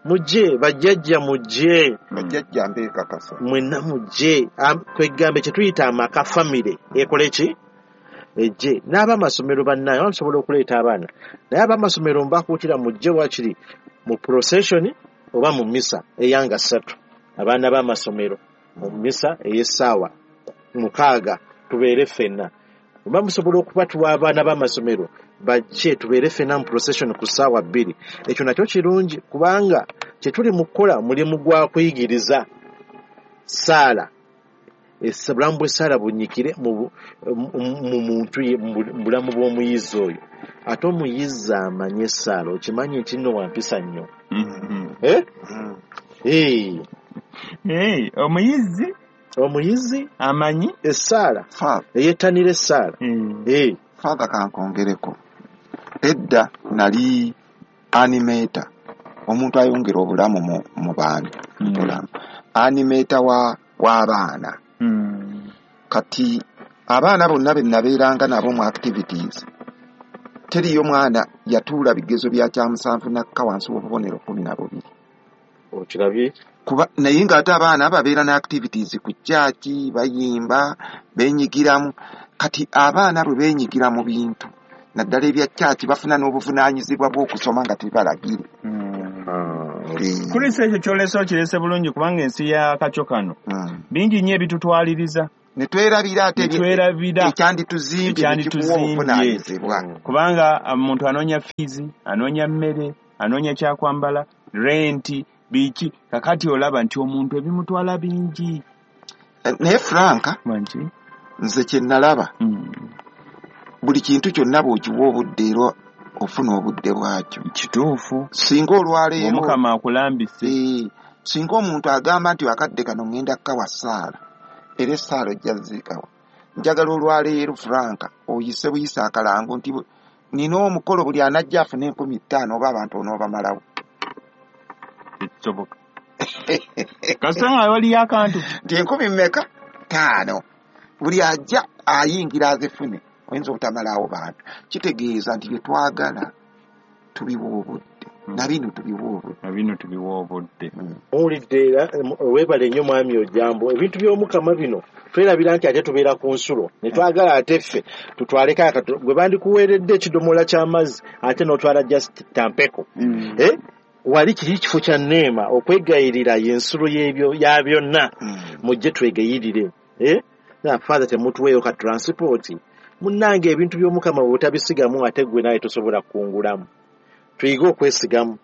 mujje bajjajja mujje Bajjajja mbeekakasa. mwenna mujje Am- kwegambe kye tuyita amaka famire ekole ki ejje n'abamasomero bannaye oba musobola okuleeta abaana naye abamasomero mbakuutira mujje wakiri mu procession oba mu misa eyanga ssatu abaana b'amasomero mu misa ey'essaawa mukaaga tubeere ffenna oba musobola okubatuwa abaana b'amasomero bajje tubeere ffenna mu procession ku ssaawa bbiri ekyo nakyo kirungi kubanga kye tuli mu kukola mulimu gwa kuyigiriza ssaala Essa- obulamu bw'essaala bunnyikire mu bu- mu- mu muntu ye- mu bu- mu bulamu bw'omuyizi oyo ate omuyizi amanye essaala okimanyi nti nno wampisa nnyo. Mm. Eh? Mm. Eh, Hey, omuyizi omuyizi amanyi essaala Father, eyettanira essaala. Mm. Eh, Father kankongereko. Edda nali animator omuntu ayongera obulamu mu, mu bantu. Mm. Bulamu. Animator wa w'abaana. Mm. Kati abaana bonna be nabeeranga nabo mu activities teriyo mwana yatuula bigezo bya kyamusanvu nakka wansi w'obubonero kkumi na bubiri. Okirabye? Kuba naye ng'ate abaana babeera ne activities ku kyaki bayimba beenyigiramu kati abaana bwe beenyigira mu bintu naddala ebya kyaki bafuna n'obuvunaanyizibwa bw'okusoma nga tebalagire. Mm. Eh, Kristo ekyo kyolese okirese bulungi kubanga ensi ya kakyo kano mm. bingi nnyo ebitutwaliriza ne twerabira ate ne twerabira ekyandituzimbye nekikuwa Ekyandituzimbye. obuvunaanyizibwa. Kubanga omuntu anoonya fiizi, anoonya mmere, anoonya kyakwambala, renti, biki. Kakati olaba nti omuntu ebimutwala bingi. Eh, naye Frank, Mangi? nze kye nalaba Mm. buli kintu kyonna bw'okiwa obudde era ofuna obudde bwakyo. Kituufu. Singa olwaleero Omukama akulambise. Eh, singa omuntu agamba nti akadde kano ŋŋenda kkawa ssaala, era essaala ojja ziikawa. Njagala olwaleero Frank oyise buyise akalango nti bu- nina omukolo buli anajja afune enkumi ttaano oba abantu onoobamalawo. Tekisoboka. Kasita nga waliyo akantu. Nti enkumi mmeka? Ttaano. Buli ajja ayingira azifune, oyinza obutamalawo bantu. Kitegeeza nti bye twagala tubiwa obudde, na bino tubiwa obudde. Na bino tubiwa obudde. Mm. Muwulidde era weebale nnyo mwami Ojambo. Ebintu by'Omukama bino twerabira nti ate tubeera ku nsulo ne twagala ate ffe tutwaleko akato gwe bandikuweeredde ekidomola ky'amazzi ate n'otwala just tampeko. Mm. Eh? Wali kiri kifo kya nneema okwegayirira y'ensulo y'ebyo ya byonna. Mm. Mujje twegayirire. Eh? Na Father temutuweeyo ka transport. Munnange ebintu by'Omukama bw'otabisigamu ate ggwe naye tosobola kukungulamu. Tuyige okwesigamu.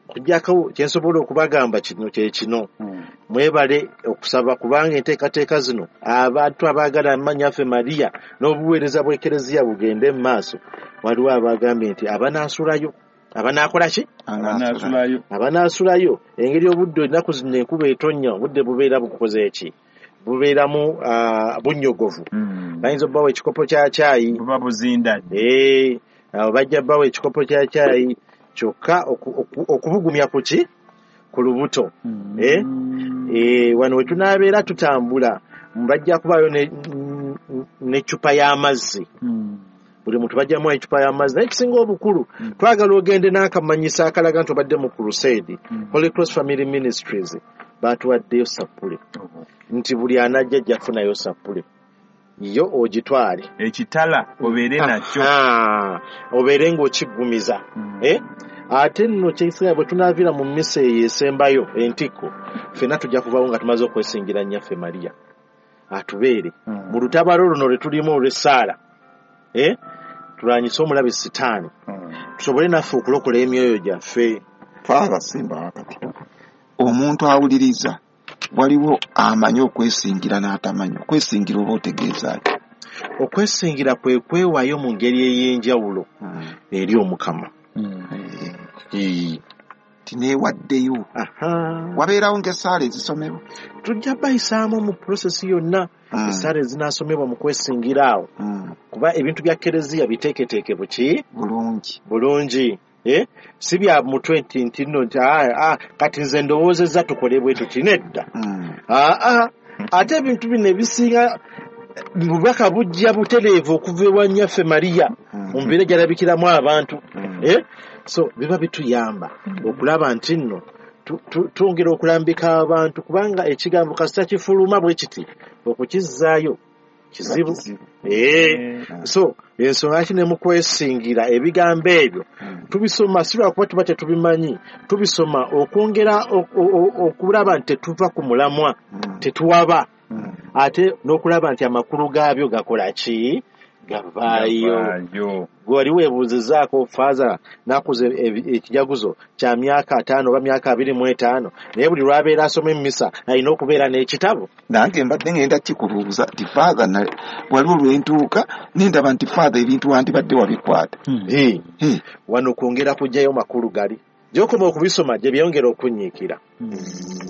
Kujjako kye nsobola okubagamba kino kye kino. Mm. Mwebale okusaba kubanga enteekateeka zino abantu abaagala Manyaffe Maria n'obuweereza bw'Ekereziya bugende mu maaso. Waliwo abagambye nti abanaasulayo, abanaakola ki? Abanaasulayo. Abanaasulayo engeri obudde ennaku zino enkuba etonnya obudde bubeera bukoze ki? Bubeeramu ah, bunnyogovu. Mm. Bayinza obbawa ekikopo kya caayi. Buba buzindadde. Eh, abo bajja bbawa ekikopo kya caayi kyokka oku- oku- okubugumya ku ki? Ku lubuto. Mm. Eh? Eh, wano we tunaabeera tutambula bajja kubaayo ne- n'eccupa y'amazzi. Mm. Buli muntu bajjamu eccupa y'amazzi. Naye ekisinga obukulu Mm. twagala ogende n'akamanyiso akalaga nti obadde mu crusade. Mm. Holy Cross Family Ministries baatuwaddeyo sappule nti buli anajja ajja kufunayo sappule yo ogitwale Ekitala obeere nakyo. Aha, obeere ng'okiggumiza. Mm. Eh? Ate nno kyekisinga bwe tunaaviira mu mmisa eyo esembayo entikko ffenna tujja kuvaawo nga tumaze okwesingira Nnyaffe Maria atubeere Mm. mu lutabalo luno lwe tulimu olw'essaala. Eh? Tulwanyise omulabe Sitaani Mm. tusobole naffe okulokola emyoyo gyaffe. Father simba wakati. Omuntu awuliriza waliwo amanyi okwesingira n'atamanyi. Okwesingira oba otegeeza ki? Okwesingira kwe kwewaayo mu ngeri ey'enjawulo Mm. eri Omukama. Mm. Eh, tineewaddeyo. Aha. Wabeerawo ng'essaala ezisomebwa. Tujja bayisaamu mu process yonna Mm. essaala ezinaasomebwa mu kwesingira awo. Mm. Kuba ebintu bya Kereziya biteeketeeke buki? Bulungi. Bulungi. Eh? Si bya mutwe nti nti nno nti, ah, ah, kati nze ndowoozezza tukole bwe tuti nedda. Mm. Ah, ah. Ate ebintu bino ebisinga bubaka bujja butereevu okuva ewa Nnyaffe Maria Mm. mu mbeera gy'alabikiramu abantu. Mm. Eh? So biba bituyamba okulaba nti nno tu- tu- twongera okulambika abantu kubanga ekigambo kasita kifuluma bwe kiti okukizzaayo kizibu. Kizibu. Eh. So ensonga ki ne mu kwesingira ebigambo ebyo Mm. tubisoma si lwakuba tuba tetubimanyi, tubisoma okwongera o- o- o- okulaba nti tetuva ku mulamwa, Mm. tetuwaba, Mm. ate n'okulaba nti amakulu gaabyo gakola ki? Gavaayo. Gavaayo. Gwe wali weebuuzizaako Faaza n'akuza ebi- ekijaguzo kya myaka ataano oba myaka abiri mu etaano, naye buli lw'abeera asoma emmisa alina okubeera n'ekitabo. Nange mbadde ngenda kikubuuza nti Father na waliwo lwe ntuuka ne ndaba nti Father ebintu wandibadde wabikwata. Mm. Eh, Eh, wano kwongera kuggyayo makulu gali. Gy'okoma okubisoma gye byongera okunyiikira. Mm.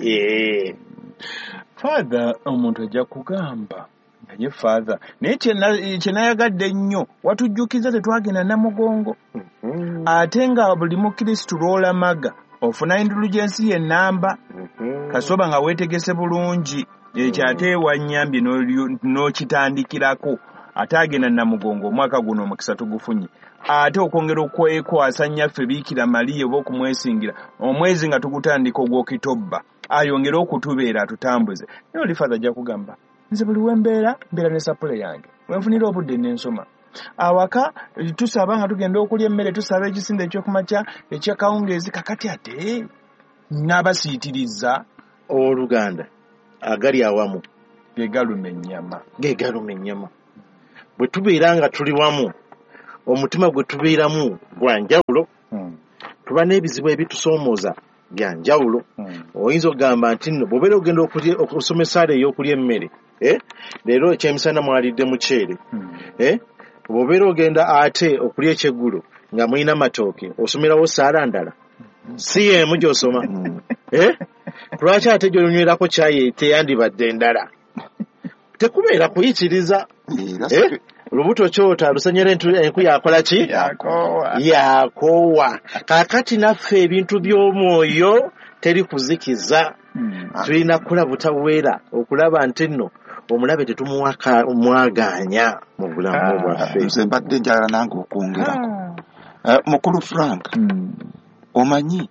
Eh. Father omuntu ajja kugamba naye Father naye kye kye nayagadde ennyo watujjukiza tetwagenda Namugongo Mhm. ate nga buli mukristu lw'olamaga ofuna indulgensi y'ennamba Mhm. kasoba nga weetegese bulungi ekyo ate wannyambye n'olyo- n'okitandikirako ate agenda Namugongo omwaka guno omukisa tugufunye ate okwongera okwekwasa Nnyaffe Biikira Mariya oba okumwesingira omwezi nga tugutandika ogw'Okitobba ayongere okutubeera atutambuze. Naye oli Father ajja kugamba nze buli we mbeera mbeera ne sapule yange we nfunira obudde ne nsoma. Awaka tusaba nga tugenda okulya emmere, tusaba ekisinde ekyokumakya ekyakawungeezi, kakati ate n'abasiitiriza. Owooluganda, agali awamu ge galuma ennyama. Ge galuma ennyama. Bwe tubeera nga tuli wamu, omutima gwe tubeeramu gwa njawulo. Mm. Tuba n'ebizibu ebitusoomooza bya njawulo. Mm. Oyinza okugamba nti nno bw'obeera ogenda okulya, okusoma essaala ey'okulya emmere, eh? Leero ekyemisana mwalidde muceere. Mm. Eh? Bw'obeera ogenda ate okulya ekyeggulo nga mulina matooke, osomerawo ssaala ndala. Si y'emu gy'osoma. Mm. Eh? Lwaki ate gy'onywerako caayi teyandibadde ndala? Tekubeera kuyitiriza. Era Eh? si- Lubuto kyota lusenyera entu- enku yakola ki? Yakoowa. Yakoowa. Kaakati naffe ebintu by'omwoyo teri kuzikiza. Mm. Tulina kukola butaweera okulaba nti nno omulabe tetumuwa ka-, mwagaanya mu bulamu Ah. bwaffe. Nze mbadde njagala nange okwongerako. Ah. Eh, Mukulu Frank, Mm. omanyi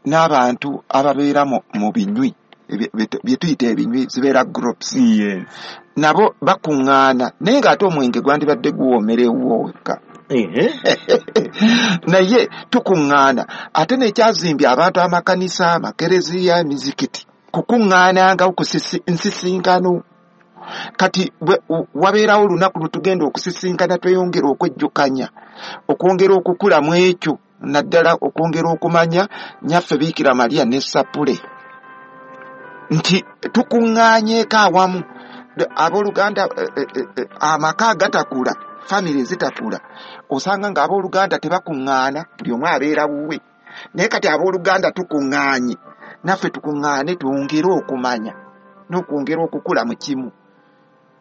n'abantu ababeera mu, mu binywi, ebye-, bye-, bye tuyita ebinywi, zibeera groups. Yes. Nabo bakuŋŋaana, naye ng'ate omwenge gwandibadde guwoomerewo wekka. Ehe. Naye tukuŋŋaana, ate n'ekyazimbye abantu amakanisa, amakereziya, emizikiti, kukuŋŋaananga okusisi-, nsisinkano. Kati bwe, u-, wabeerawo olunaku lwe tugenda okusisinkana, tweyongera okwejjukanya, okwongera okukula mu ekyo, naddala okwongera okumanya Nnyaffe Biikira Maria ne Sapule, nti tukuŋŋaanyeeko awamu. Abooluganda, eh, eh, eh, eh, amaka agatakula, famire ezitakula, osanga ng'abooluganda tebakuŋŋaana, buli omu abeera wuwe. Naye kati abooluganda tukuŋŋaanye, naffe tukuŋŋaane twongere okumanya n'okwongera okukula mu kimu.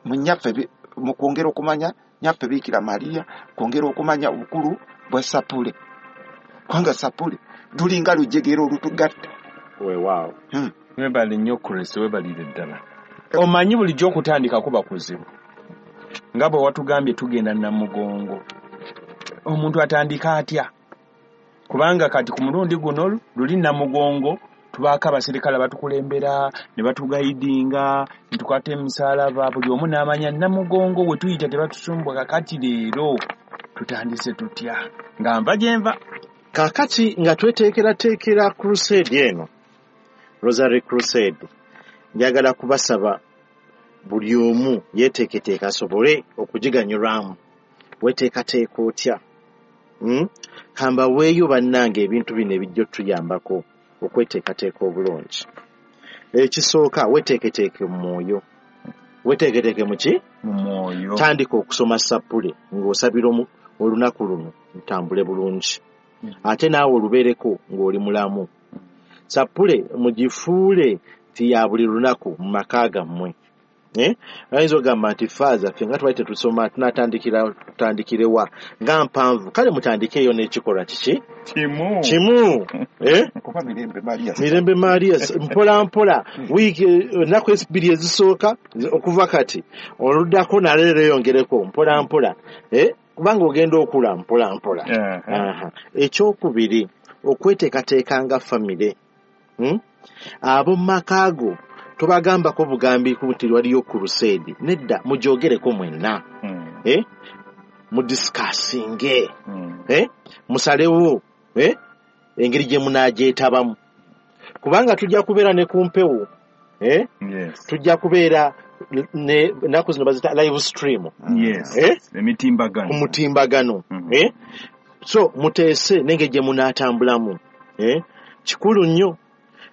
Mu nnyaffe bi-, mu kwongera okumanya Nnyaffe Biikira Maria, kwongera okumanya obukulu bwa Sapule, kubanga Sapule lulinga lujegere olutugatta. Weewaawo. Hmm. Webale nnyo Chris, webalire ddala. Omanyi bulijjo okutandika kuba kuzibu, nga bwe watugambye tugenda Namugongo. Omuntu atandika atya? Kubanga kati ku mulundi guno luli Namugongo tubaako abaserikale abatukulembera ne batugayidinga ne tukwata emisaalaba, buli omu n'amanya Namugongo we tuyita tebatusumbwa. Kakati leero tutandise tutya nga nva gye nva? Kaakati nga tweteekerateekera crusade eno, Rosary Crusade, njagala kubasaba buli omu yeeteeketeeka asobole okugiganyulwamu. Weeteekateeka otya? Hmm? Kambaweeyo bannange ebintu bino ebijja otuyambako okweteekateeka obulungi. Ekisooka, weeteeketeeke mu mwoyo. Weeteeketeeke mu ki? Mu mwoyo. Tandika okusoma Sapule ng'osabira omu-, olunaku luno lutambule bulungi. Ate naawe olubeereko ng'oli mulamu. Sapule mugifuule nti ya buli lunaku mu maka gammwe. Eh? Ayinza okugamba nti faaza ffe nga twali tetusoma tunaatandikira, tutandikirewa nga mpanvu. Kale mutandikeeyo n'ekikolwa kiki? Kimu. Kimu. Eh? Kuba Mirembe Maria. Mirembe Maria. Mpola mpola. Wiiki, ennaku ebbiri ezisooka okuva kati oluddako naleero eyongereko mpola mpola. Eh? Kubanga ogenda okula mpola mpola. Aha. Aha. Ekyokubiri, okweteekateeka nga famire. Hmm? Abo mu maka go tobagambako bugambi nti waliyo crusade. Nedda, mugyogereko mwenna. Hmm. Eh? Mudiscussinge. Hmm. Eh? Musalewo, eh? Engeri gye munaagyetabamu. Kubanga tujja kubeera ne ku mpewo. Eh? Yes. Tujja kubeera ne ennaku zino bazita live stream. Yes. Eh? Emitimbagano. Ku mutimbagano. Mm-hmm. Eh? So muteese n'engeri gye munaatambulamu. Eh? Kikulu nnyo.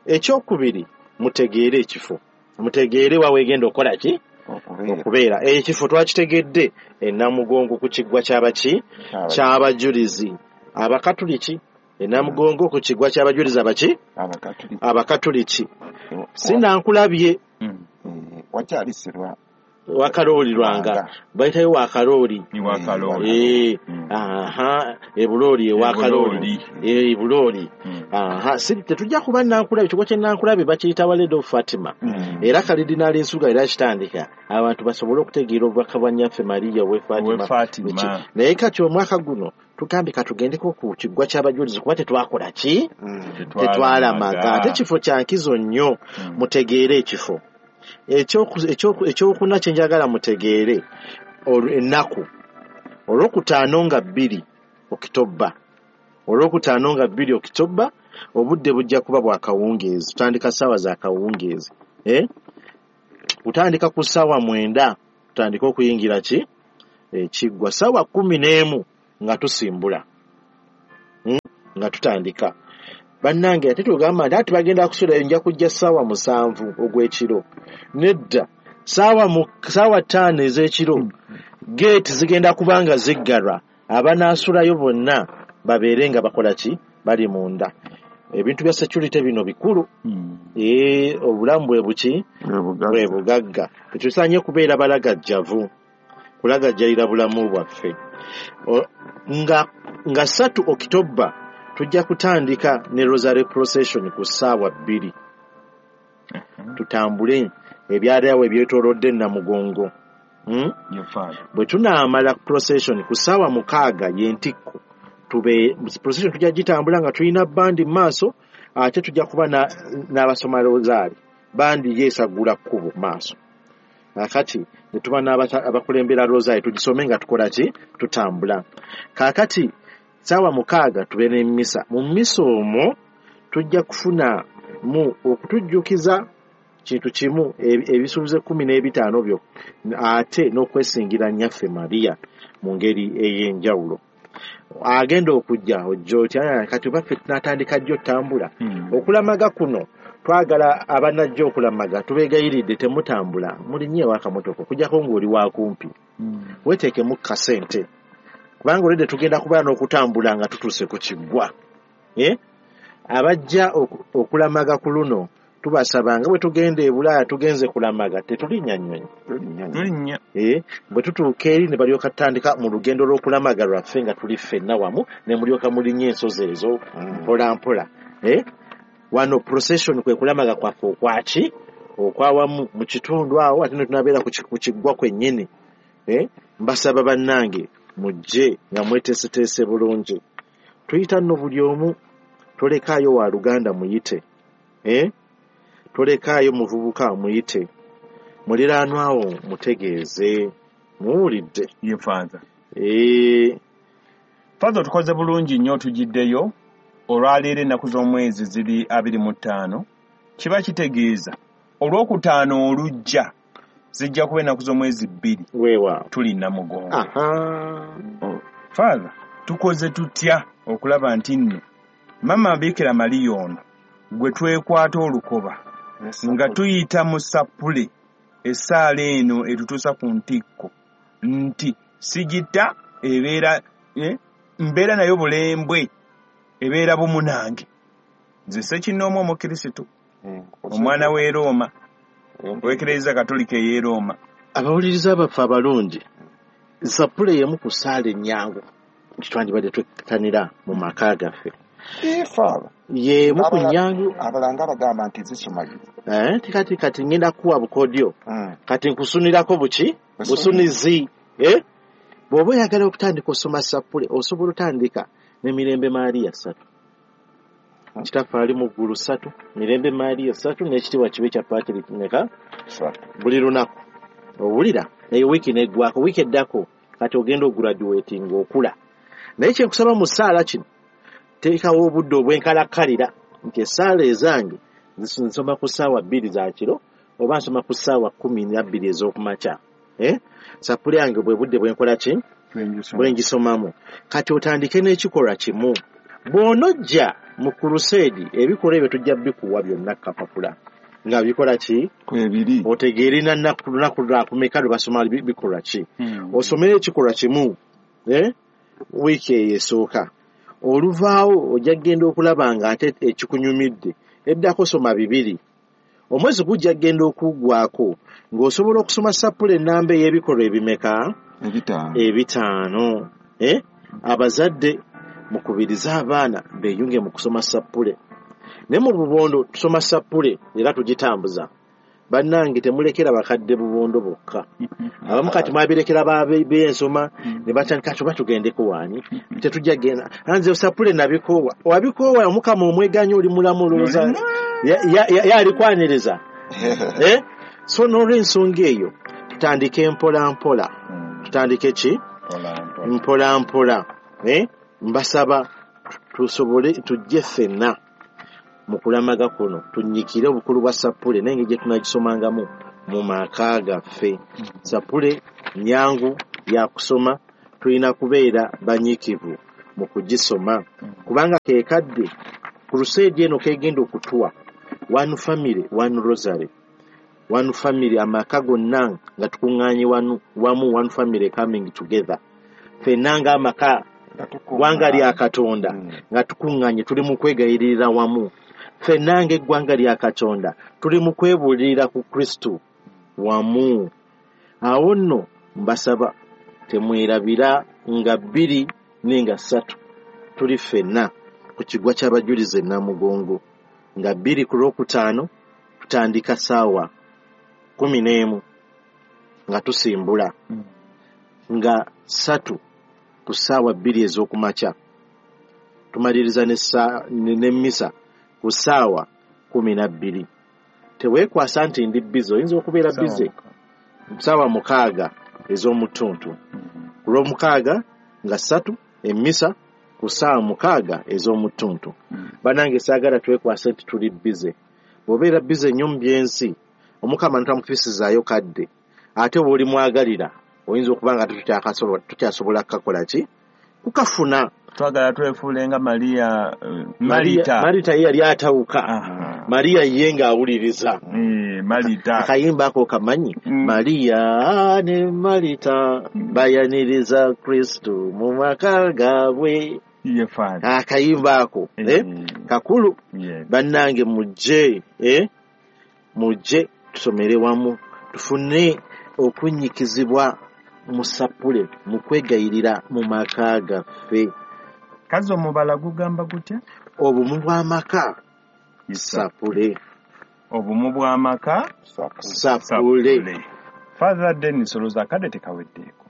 Ekyokubiri, mutegeere ekifo. Mutegeere wa weegenda okukola ki? Okubeera. Okubeera. Ekifo twakitegedde e Namugongo ku kiggwa ky'abaki? Ky'abajulizi. Ky'abajulizi. Abakatuliki. E Namugongo ku kiggwa ky'abajulizi abaki? Abakatuliki. Abakatuliki. Wa- Sinankulabye. Mm. Eh, wakyalisirwa. Wakalooli lwanga. Lwanga. Bayitayo Wakalooli. Ni Wakalooli. Eh, Mm. aha, e Bulooli, e Wakalooli. E Bulooli. E Bulooli. Mm. Aha, si tetujja kuba Nankulabye, ekigo kye Nankulabye bakiyita Waled of Fatima. Mm. Era Kalidinaali Nsuga era kitandika abantu basobole okutegeera obubaka bwa Nnyaffe Maria ow'e Fatima. Ow'e Fatima. Eki, naye kati omwaka guno tugambye katugendeko ku kiggwa ky'abajulizi kuba tetwakola ki? Mm. Tetwalamaga. Ate ekifo kya nkizo nnyo, Mm. mutegeere ekifo. Ekyoku-, ekyoku-, ekyokuna kye njagala mutegeere, olwo ennaku. Olwokutaano nga bbiri Okitoba, olwokutaano nga bbiri Okitoba, obudde bujja kuba bwa kawungeezi, tutandika ssaawa za kawungeezi. Eh? Kutandika ku ssaawa mwenda tutandike okuyingira ki ekiggwa, ssaawa kkumi n'emu nga tusimbula, hmm? Nga tutandika. Bannange ate tugamba nti ati bagenda kusula, nja kujja ssaawa musanvu ogw'ekiro. Nedda, ssaawa mu ssaawa ttaano ez'ekiro geeti zigenda kuba nga ziggalwa, abanaasulayo bonna babeere nga bakola ki, bali munda. Ebintu bya security bino bikulu. Mm. Ee, obulamu bwe buki bwe bugagga. Tetusaanye kubeera balagajjavu, kulagajjalira bulamu bwaffe. O, nga, nga ssatu Okitoba tujja kutandika ne Rosary Procession ku ssaawa bbiri. Tutambule ebyalo awo ebyetoolodde Namugongo. Hmm? Bwe tunaamala procession ku ssaawa mukaaga y'entikko, tube procession tujja gitambula nga tulina bandi mu maaso, ate tujja kuba n'abasoma rosaari. Bandi yeesaggula kkubo maaso. Kaakati ne tuba n'abakulembera rosaari tugisome nga tukola ki, tutambula. Kaakati ssaawa mukaaga tube n'emmisa. Mu mmisa omwo tujja kufuna mu okutujjukiza kintu kimu, ebisuubizo ekkumi n'ebitaano byo, ate n'okwesingira Nnyaffe Maria mu ngeri ey'enjawulo. Agenda okujja ojja otya, kati baffe tunaatandika jjo ttambula. Okulamaga kuno twagala abanajja okulamaga tubeegayiridde temutambula, mulinnyewo akamotoka okuggyako ng'oli wakumpi, weeteekemu kasente, kubanga olwedde tugenda kubeera n'okutambula nga tutuuse ku kiggwa. Abajja okulamaga ku luno tubasaba nga bwe tugenda e Bulaaya tugenze kulamaga, tetulinnya nnyonyi. Eh, bwe tutuuka eri ne balyoka tutandika mu lugendo lw'okulamaga lwaffe nga tuli ffenna wamu, ne mulyoka mulinnya ensozi ezo mpola mpola. Eh, wano procession kwe kulamaga kwaffe okwaki okwawamu mu kitundu awo, ate ne tunabeera ku kiggwa kwennyini. Eh, mbasaba bannange mujje nga mweteeseteese bulungi. Tuyita nno buli omu, tolekaayo wa luganda muyite. Eh, tolekaayo muvubuka muyite, muliraanwa awo mutegeeze, muwulidde. Ye Father. Eh, Father tukoze bulungi nnyo, tugiddeyo olwaleero ennaku z'omwezi ziri abiri mu ttaano. Kiba kitegeeza olwokutaano olujja zijja kuba ennaku z'omwezi bbiri. Weewaawo. Tuli Namugongo. Aha. Father, tukoze tutya okulaba nti nno Mama Bikira Maria ono gwe twekwata olukoba nga tuyita mu sappule essaala eno etutuusa ku ntikko nti sigita ebeera eh, mbeera nayo bulembwe ebeera bumu nange. Nze ssekinnoomu Omukirisitu, omwana w'e Rooma, ow'Ekereziya Katolika ey'e Rooma. Abawuliriza baffe abalungi, sappule y'emu ku ssaala ennyangu nti twandibadde twettanira mu maka gaffe. Y'emu ku nnyangu. Abalanga bagamba nti zisumagiza. Eh, kati kati ngenda kuwa bukodyo. Kati nkusunirako buki? Busunizi. Eh? Bw'oba oyagala okutandika osoma sappule, osobola otandika ne Mirembe Maria ssatu. Kitaffe ali mu ggulu ssatu, Mirembe Maria ssatu, n'ekitiibwa kibe kya Patrick meka buli lunaku. Owulira? Eyo wiiki n'eggwako, wiiki eddako kati ogenda ograduating okula. Naye kye nkusaba mu ssaala kino, teekawo obudde obwenkalakkalira nti essaala ezange nsoma ku ssaawa bbiri za kiro oba nsoma ku ssaawa kkumi na bbiri ez'okumakya. Eh? Sappule yange bwe budde bwe nkola ki? Bwe ngisomamu. Kati otandike n'ekikolwa kimu. Bw'onojja mu kuruseedi ebikolwa ebyo tujja bikuwa byonna kapapula nga bikola ki? Kwebiri. Otegeere na nnaku lunaku lwakumeka lwe basoma bikolwa ki. Osomere ekikolwa kimu, eh? Wiiki eyo esooka. Oluvaawo ojja kugenda okulaba nga ate ekikunyumidde eddako soma bibiri. Omwezi gujja kugenda okuggwako ng'osobola okusoma sappule ennamba ey'ebikolwa ebimeka? Ebitaano. Ebitaano. Eh? Abazadde mukubirize abaana beeyunge mu kusoma sappule. Ne mu bubondo tusoma sappule era tugitambuza. Bannange temulekera bakadde bubondo bokka. Abamu kati mwabirekera b'ensoma ne batandika tuba tugendeko waani, tetujja genda. Nze sappule nabikoowa. Wabikoowa Omukama omweganyi oli mulamu olowooza yalikwaniriza. Eh? So n'olw'ensonga eyo tutandike mpola mpola. Tutandike ki? Mpola mpola. Eh? Mbasaba tusobole tujje ffenna mu kulamaga kuno, tunnyikire obukulu bwa sappule n'engeri gye tunagisomangamu mu maka gaffe. Sappule nnyangu ya kusoma, tulina kubeera banyiikivu mu kugisoma, kubanga ke kadde crusade eno kegenda okutuwa one family one rosary, one family, amaka gonna nga tukuŋŋaanye wamu, one family coming together, ffenna ng'amaka ggwanga lya Katonda nga tukuŋŋaanye, tuli mu kwegayirira wamu, ffenna ng'eggwanga lya Katonda tuli mu kwebuulirira ku Kristo wamu. Awo nno mbasaba temwerabira nga bbiri n'enga ssatu tuli ffenna ku kigwa ky'abajulizi e Namugongo, nga bbiri ku Lwokutaano tutandika ssaawa kkumi n'emu nga tusimbula, nga ssatu ku ssaawa bbiri ez'okumakya tumaliriza n'emmisa ku ssaawa kkumi na bbiri. Teweekwasa nti ndi bize, oyinza okubeera bize ssaawa mukaaga ez'omutuntu. Ku Lwomukaaga nga ssatu emmisa ku ssaawa mukaaga ez'omutuntu. Bannange saagala twekwase nti tuli bize. Bw'obeera bize nnyo mu by'ensi, Omukama ntamufisizaayo kadde, ate bw'oli mwagalira oyinza okuba nga tukyasobola kukakola ki? Kukafuna. Twagala twefuule nga Maria, Marita. Marita ye yali atawuka. Maria ye ng'awuliriza. Marita. Akayimba ako kamanyi. Maria ne Marita bayaniriza Kristo mu maka gaabwe. Ye Father. Akayimba ako kakulu. Bannange mujje, mujje tusomere wamu, tufune okunnyikizibwa mu sappule, mu kwegayirira mu maka gaffe. Kazi omubala gugamba gutya? Obumu bw'amaka sappule. Obumu bw'amaka sappule. Father Dennis, olowooza akadde tekaweddeeko?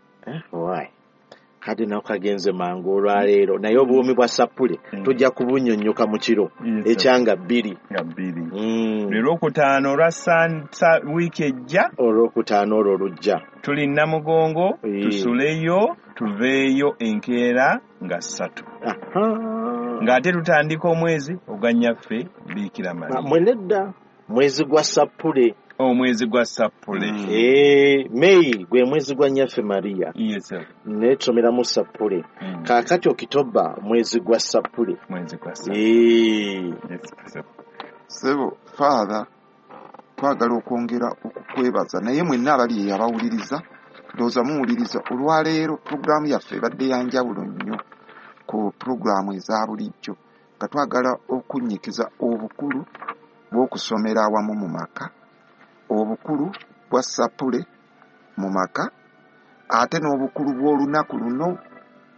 Why? Kadde nako kagenze mangu olwaleero, naye obuwoomi bwa sappule tujja kubunnyonnyoka mu kiro ekyanga bbiri. Nga bbiri. Leero okutaano olwa wiiki ejja. Olwokutaano olwo olujja. Tuli Namugongo, tusuleyo, tuveeyo enkeera nga ssatu. Ng'ate tutandika omwezi ogwa Nnyaffe Biikira Maria. Mwe nedda, mwezi gwa sappule. Omwezi gwa sappule. Eh, May gwe mwezi gwa Nnyaffe Maria. Yes sir. Ne tusomeramu sappule. Kaakati Okitoba mwezi gwa sappule. Mwezi gwa sappule. Eh. Yes sir. Ssebo Father, twagala okwongera okukwebaza, naye mwenna abali abawuliriza, ndowooza muwuliriza olwaleero pulogulaamu yaffe ebadde ya njawulo nnyo ku pulogulaamu eza bulijjo, nga twagala okunnyikiza obukulu bw'okusomera awamu mu maka, obukulu bwa sappule mu maka, ate n'obukulu bw'olunaku luno,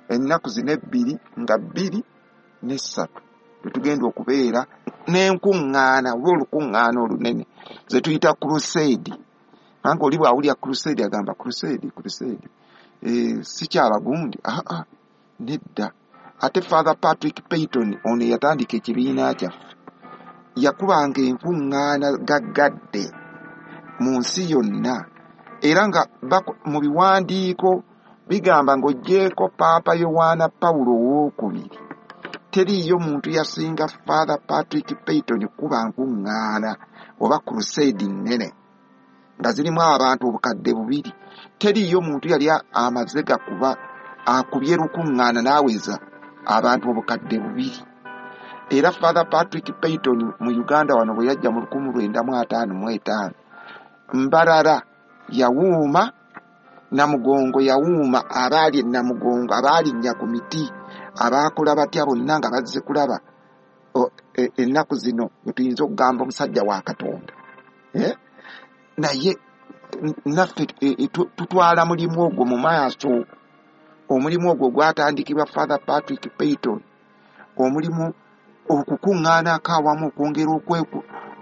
ennaku zino ebbiri nga bbiri n'essatu lwe tugenda okubeera n'enkuŋŋaana oba olukuŋŋaana olunene ze tuyita crusade. Kubanga oli bw'awulira crusade agamba crusade, crusade, eh, si kyabagundi. Aa, nedda. Ate Father Patrick Peyton ono eyatandika ekibiina kyaffe yakubanga enkuŋŋaana gaggadde mu nsi yonna, era nga mu biwandiiko bigamba ng'oggyeeko Paapa Yowaana Pawulo owookubiri, teriiyo muntu yasinga Father Patrick Peyton kuba nkuŋŋaana oba crusade nnene nga zirimu abantu obukadde bubiri. Teriiyo muntu yali amaze gakuba akubye lukuŋŋaana n'aweza abantu obukadde bubiri. Era Father Patrick Peyton mu Uganda wano bwe yajja mu lukumi lwenda mu ataano mu etaano, Mbarara yawuuma, Namugongo yawuuma, abaali e Namugongo, abaalinnya ku miti, abaakola batya bonna nga bazze kulaba ennaku zino bwe tuyinza okugamba omusajja wa Katonda. Naye naffe tutwala mulimu ogwo mu maaso, omulimu ogwo gwatandikibwa Father Patrick Peyton, omulimu okukuŋŋaanako awamu, okwongera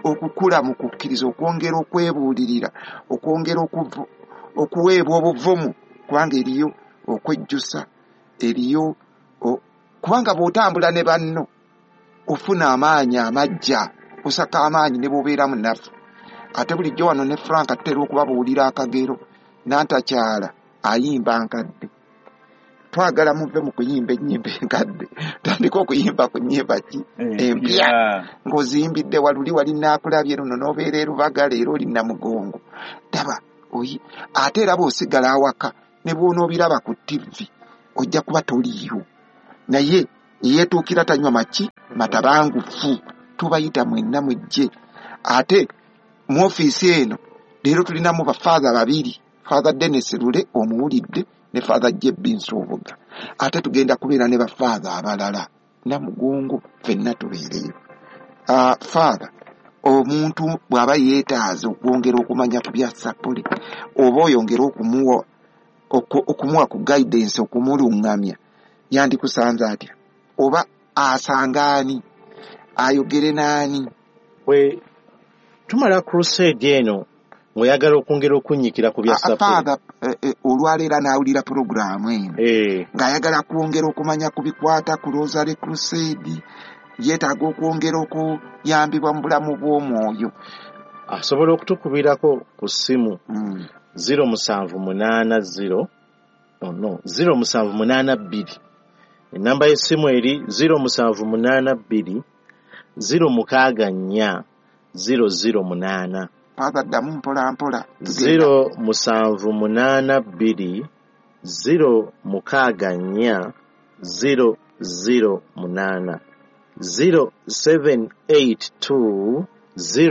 okukula mu kukkiriza, okwongera okwebuulirira, okwongera okuweebwa obuvumu, kubanga eriyo okwejjusa, eriyo kubanga bw'otambula ne banno ofuna amaanyi amajja, osaka amaanyi ne bw'obeera munafu. Ate bulijjo wano ne Frank atera okubabuulira akagero, nantakyala ayimba nkadde. Twagala muve mu kuyimba ennyimba enkadde, tandika okuyimba ku nnyimba ki empya ng'oziyimbidde waluli wali naakulabye luno n'obeera e Lubaga leero oli Namugongo. Daba oyi ate era bw'osigala awaka ne bw'onoobiraba ku ttivi ojja kuba toliiyo, naye eyeetuukira tanywa maki matabangufu. Tubayita mwenna mujje. Ate mu ofiisi eno leero tulinamu bafaatha babiri, Father Dennis Lule omuwulidde ne Father J B Nsubuga. Ate tugenda kubeera ne bafaatha abalala Namugongo, ffenna tubeereyo. Uh, Father, omuntu bw'aba yeetaaza okwongera okumanya ku bya sapuli oba oyongera okumuwa okumuwa ku guidance, okumulungamya, yandikusanze atya? Oba asanga ani? Ayogere n'ani? Bwe tumala crusade eno ng'oyagala okwongera okunnyikira ku bya sapuli. Father, eh, eh, olwaleero n'awulira puroguraamu eno Eh, ng'ayagala kwongera okumanya ku bikwata ku Rosary Crusade, yeetaaga okwongera okuyambibwa mu bulamu bw'omwoyo. Asobola okutukubirako ku ssimu Mm. zero musanvu munaana zero, oh no, zero musanvu munaana bbiri. Ennamba y'essimu eri zero musanvu munaana bbiri, zero mukaaga nnya, zero zero munaana. Father, ddamu mpola mpola. Zero musanvu munaana bbiri, zero mukaaga nnya, zero zero munaana. Zero seven eight two, zero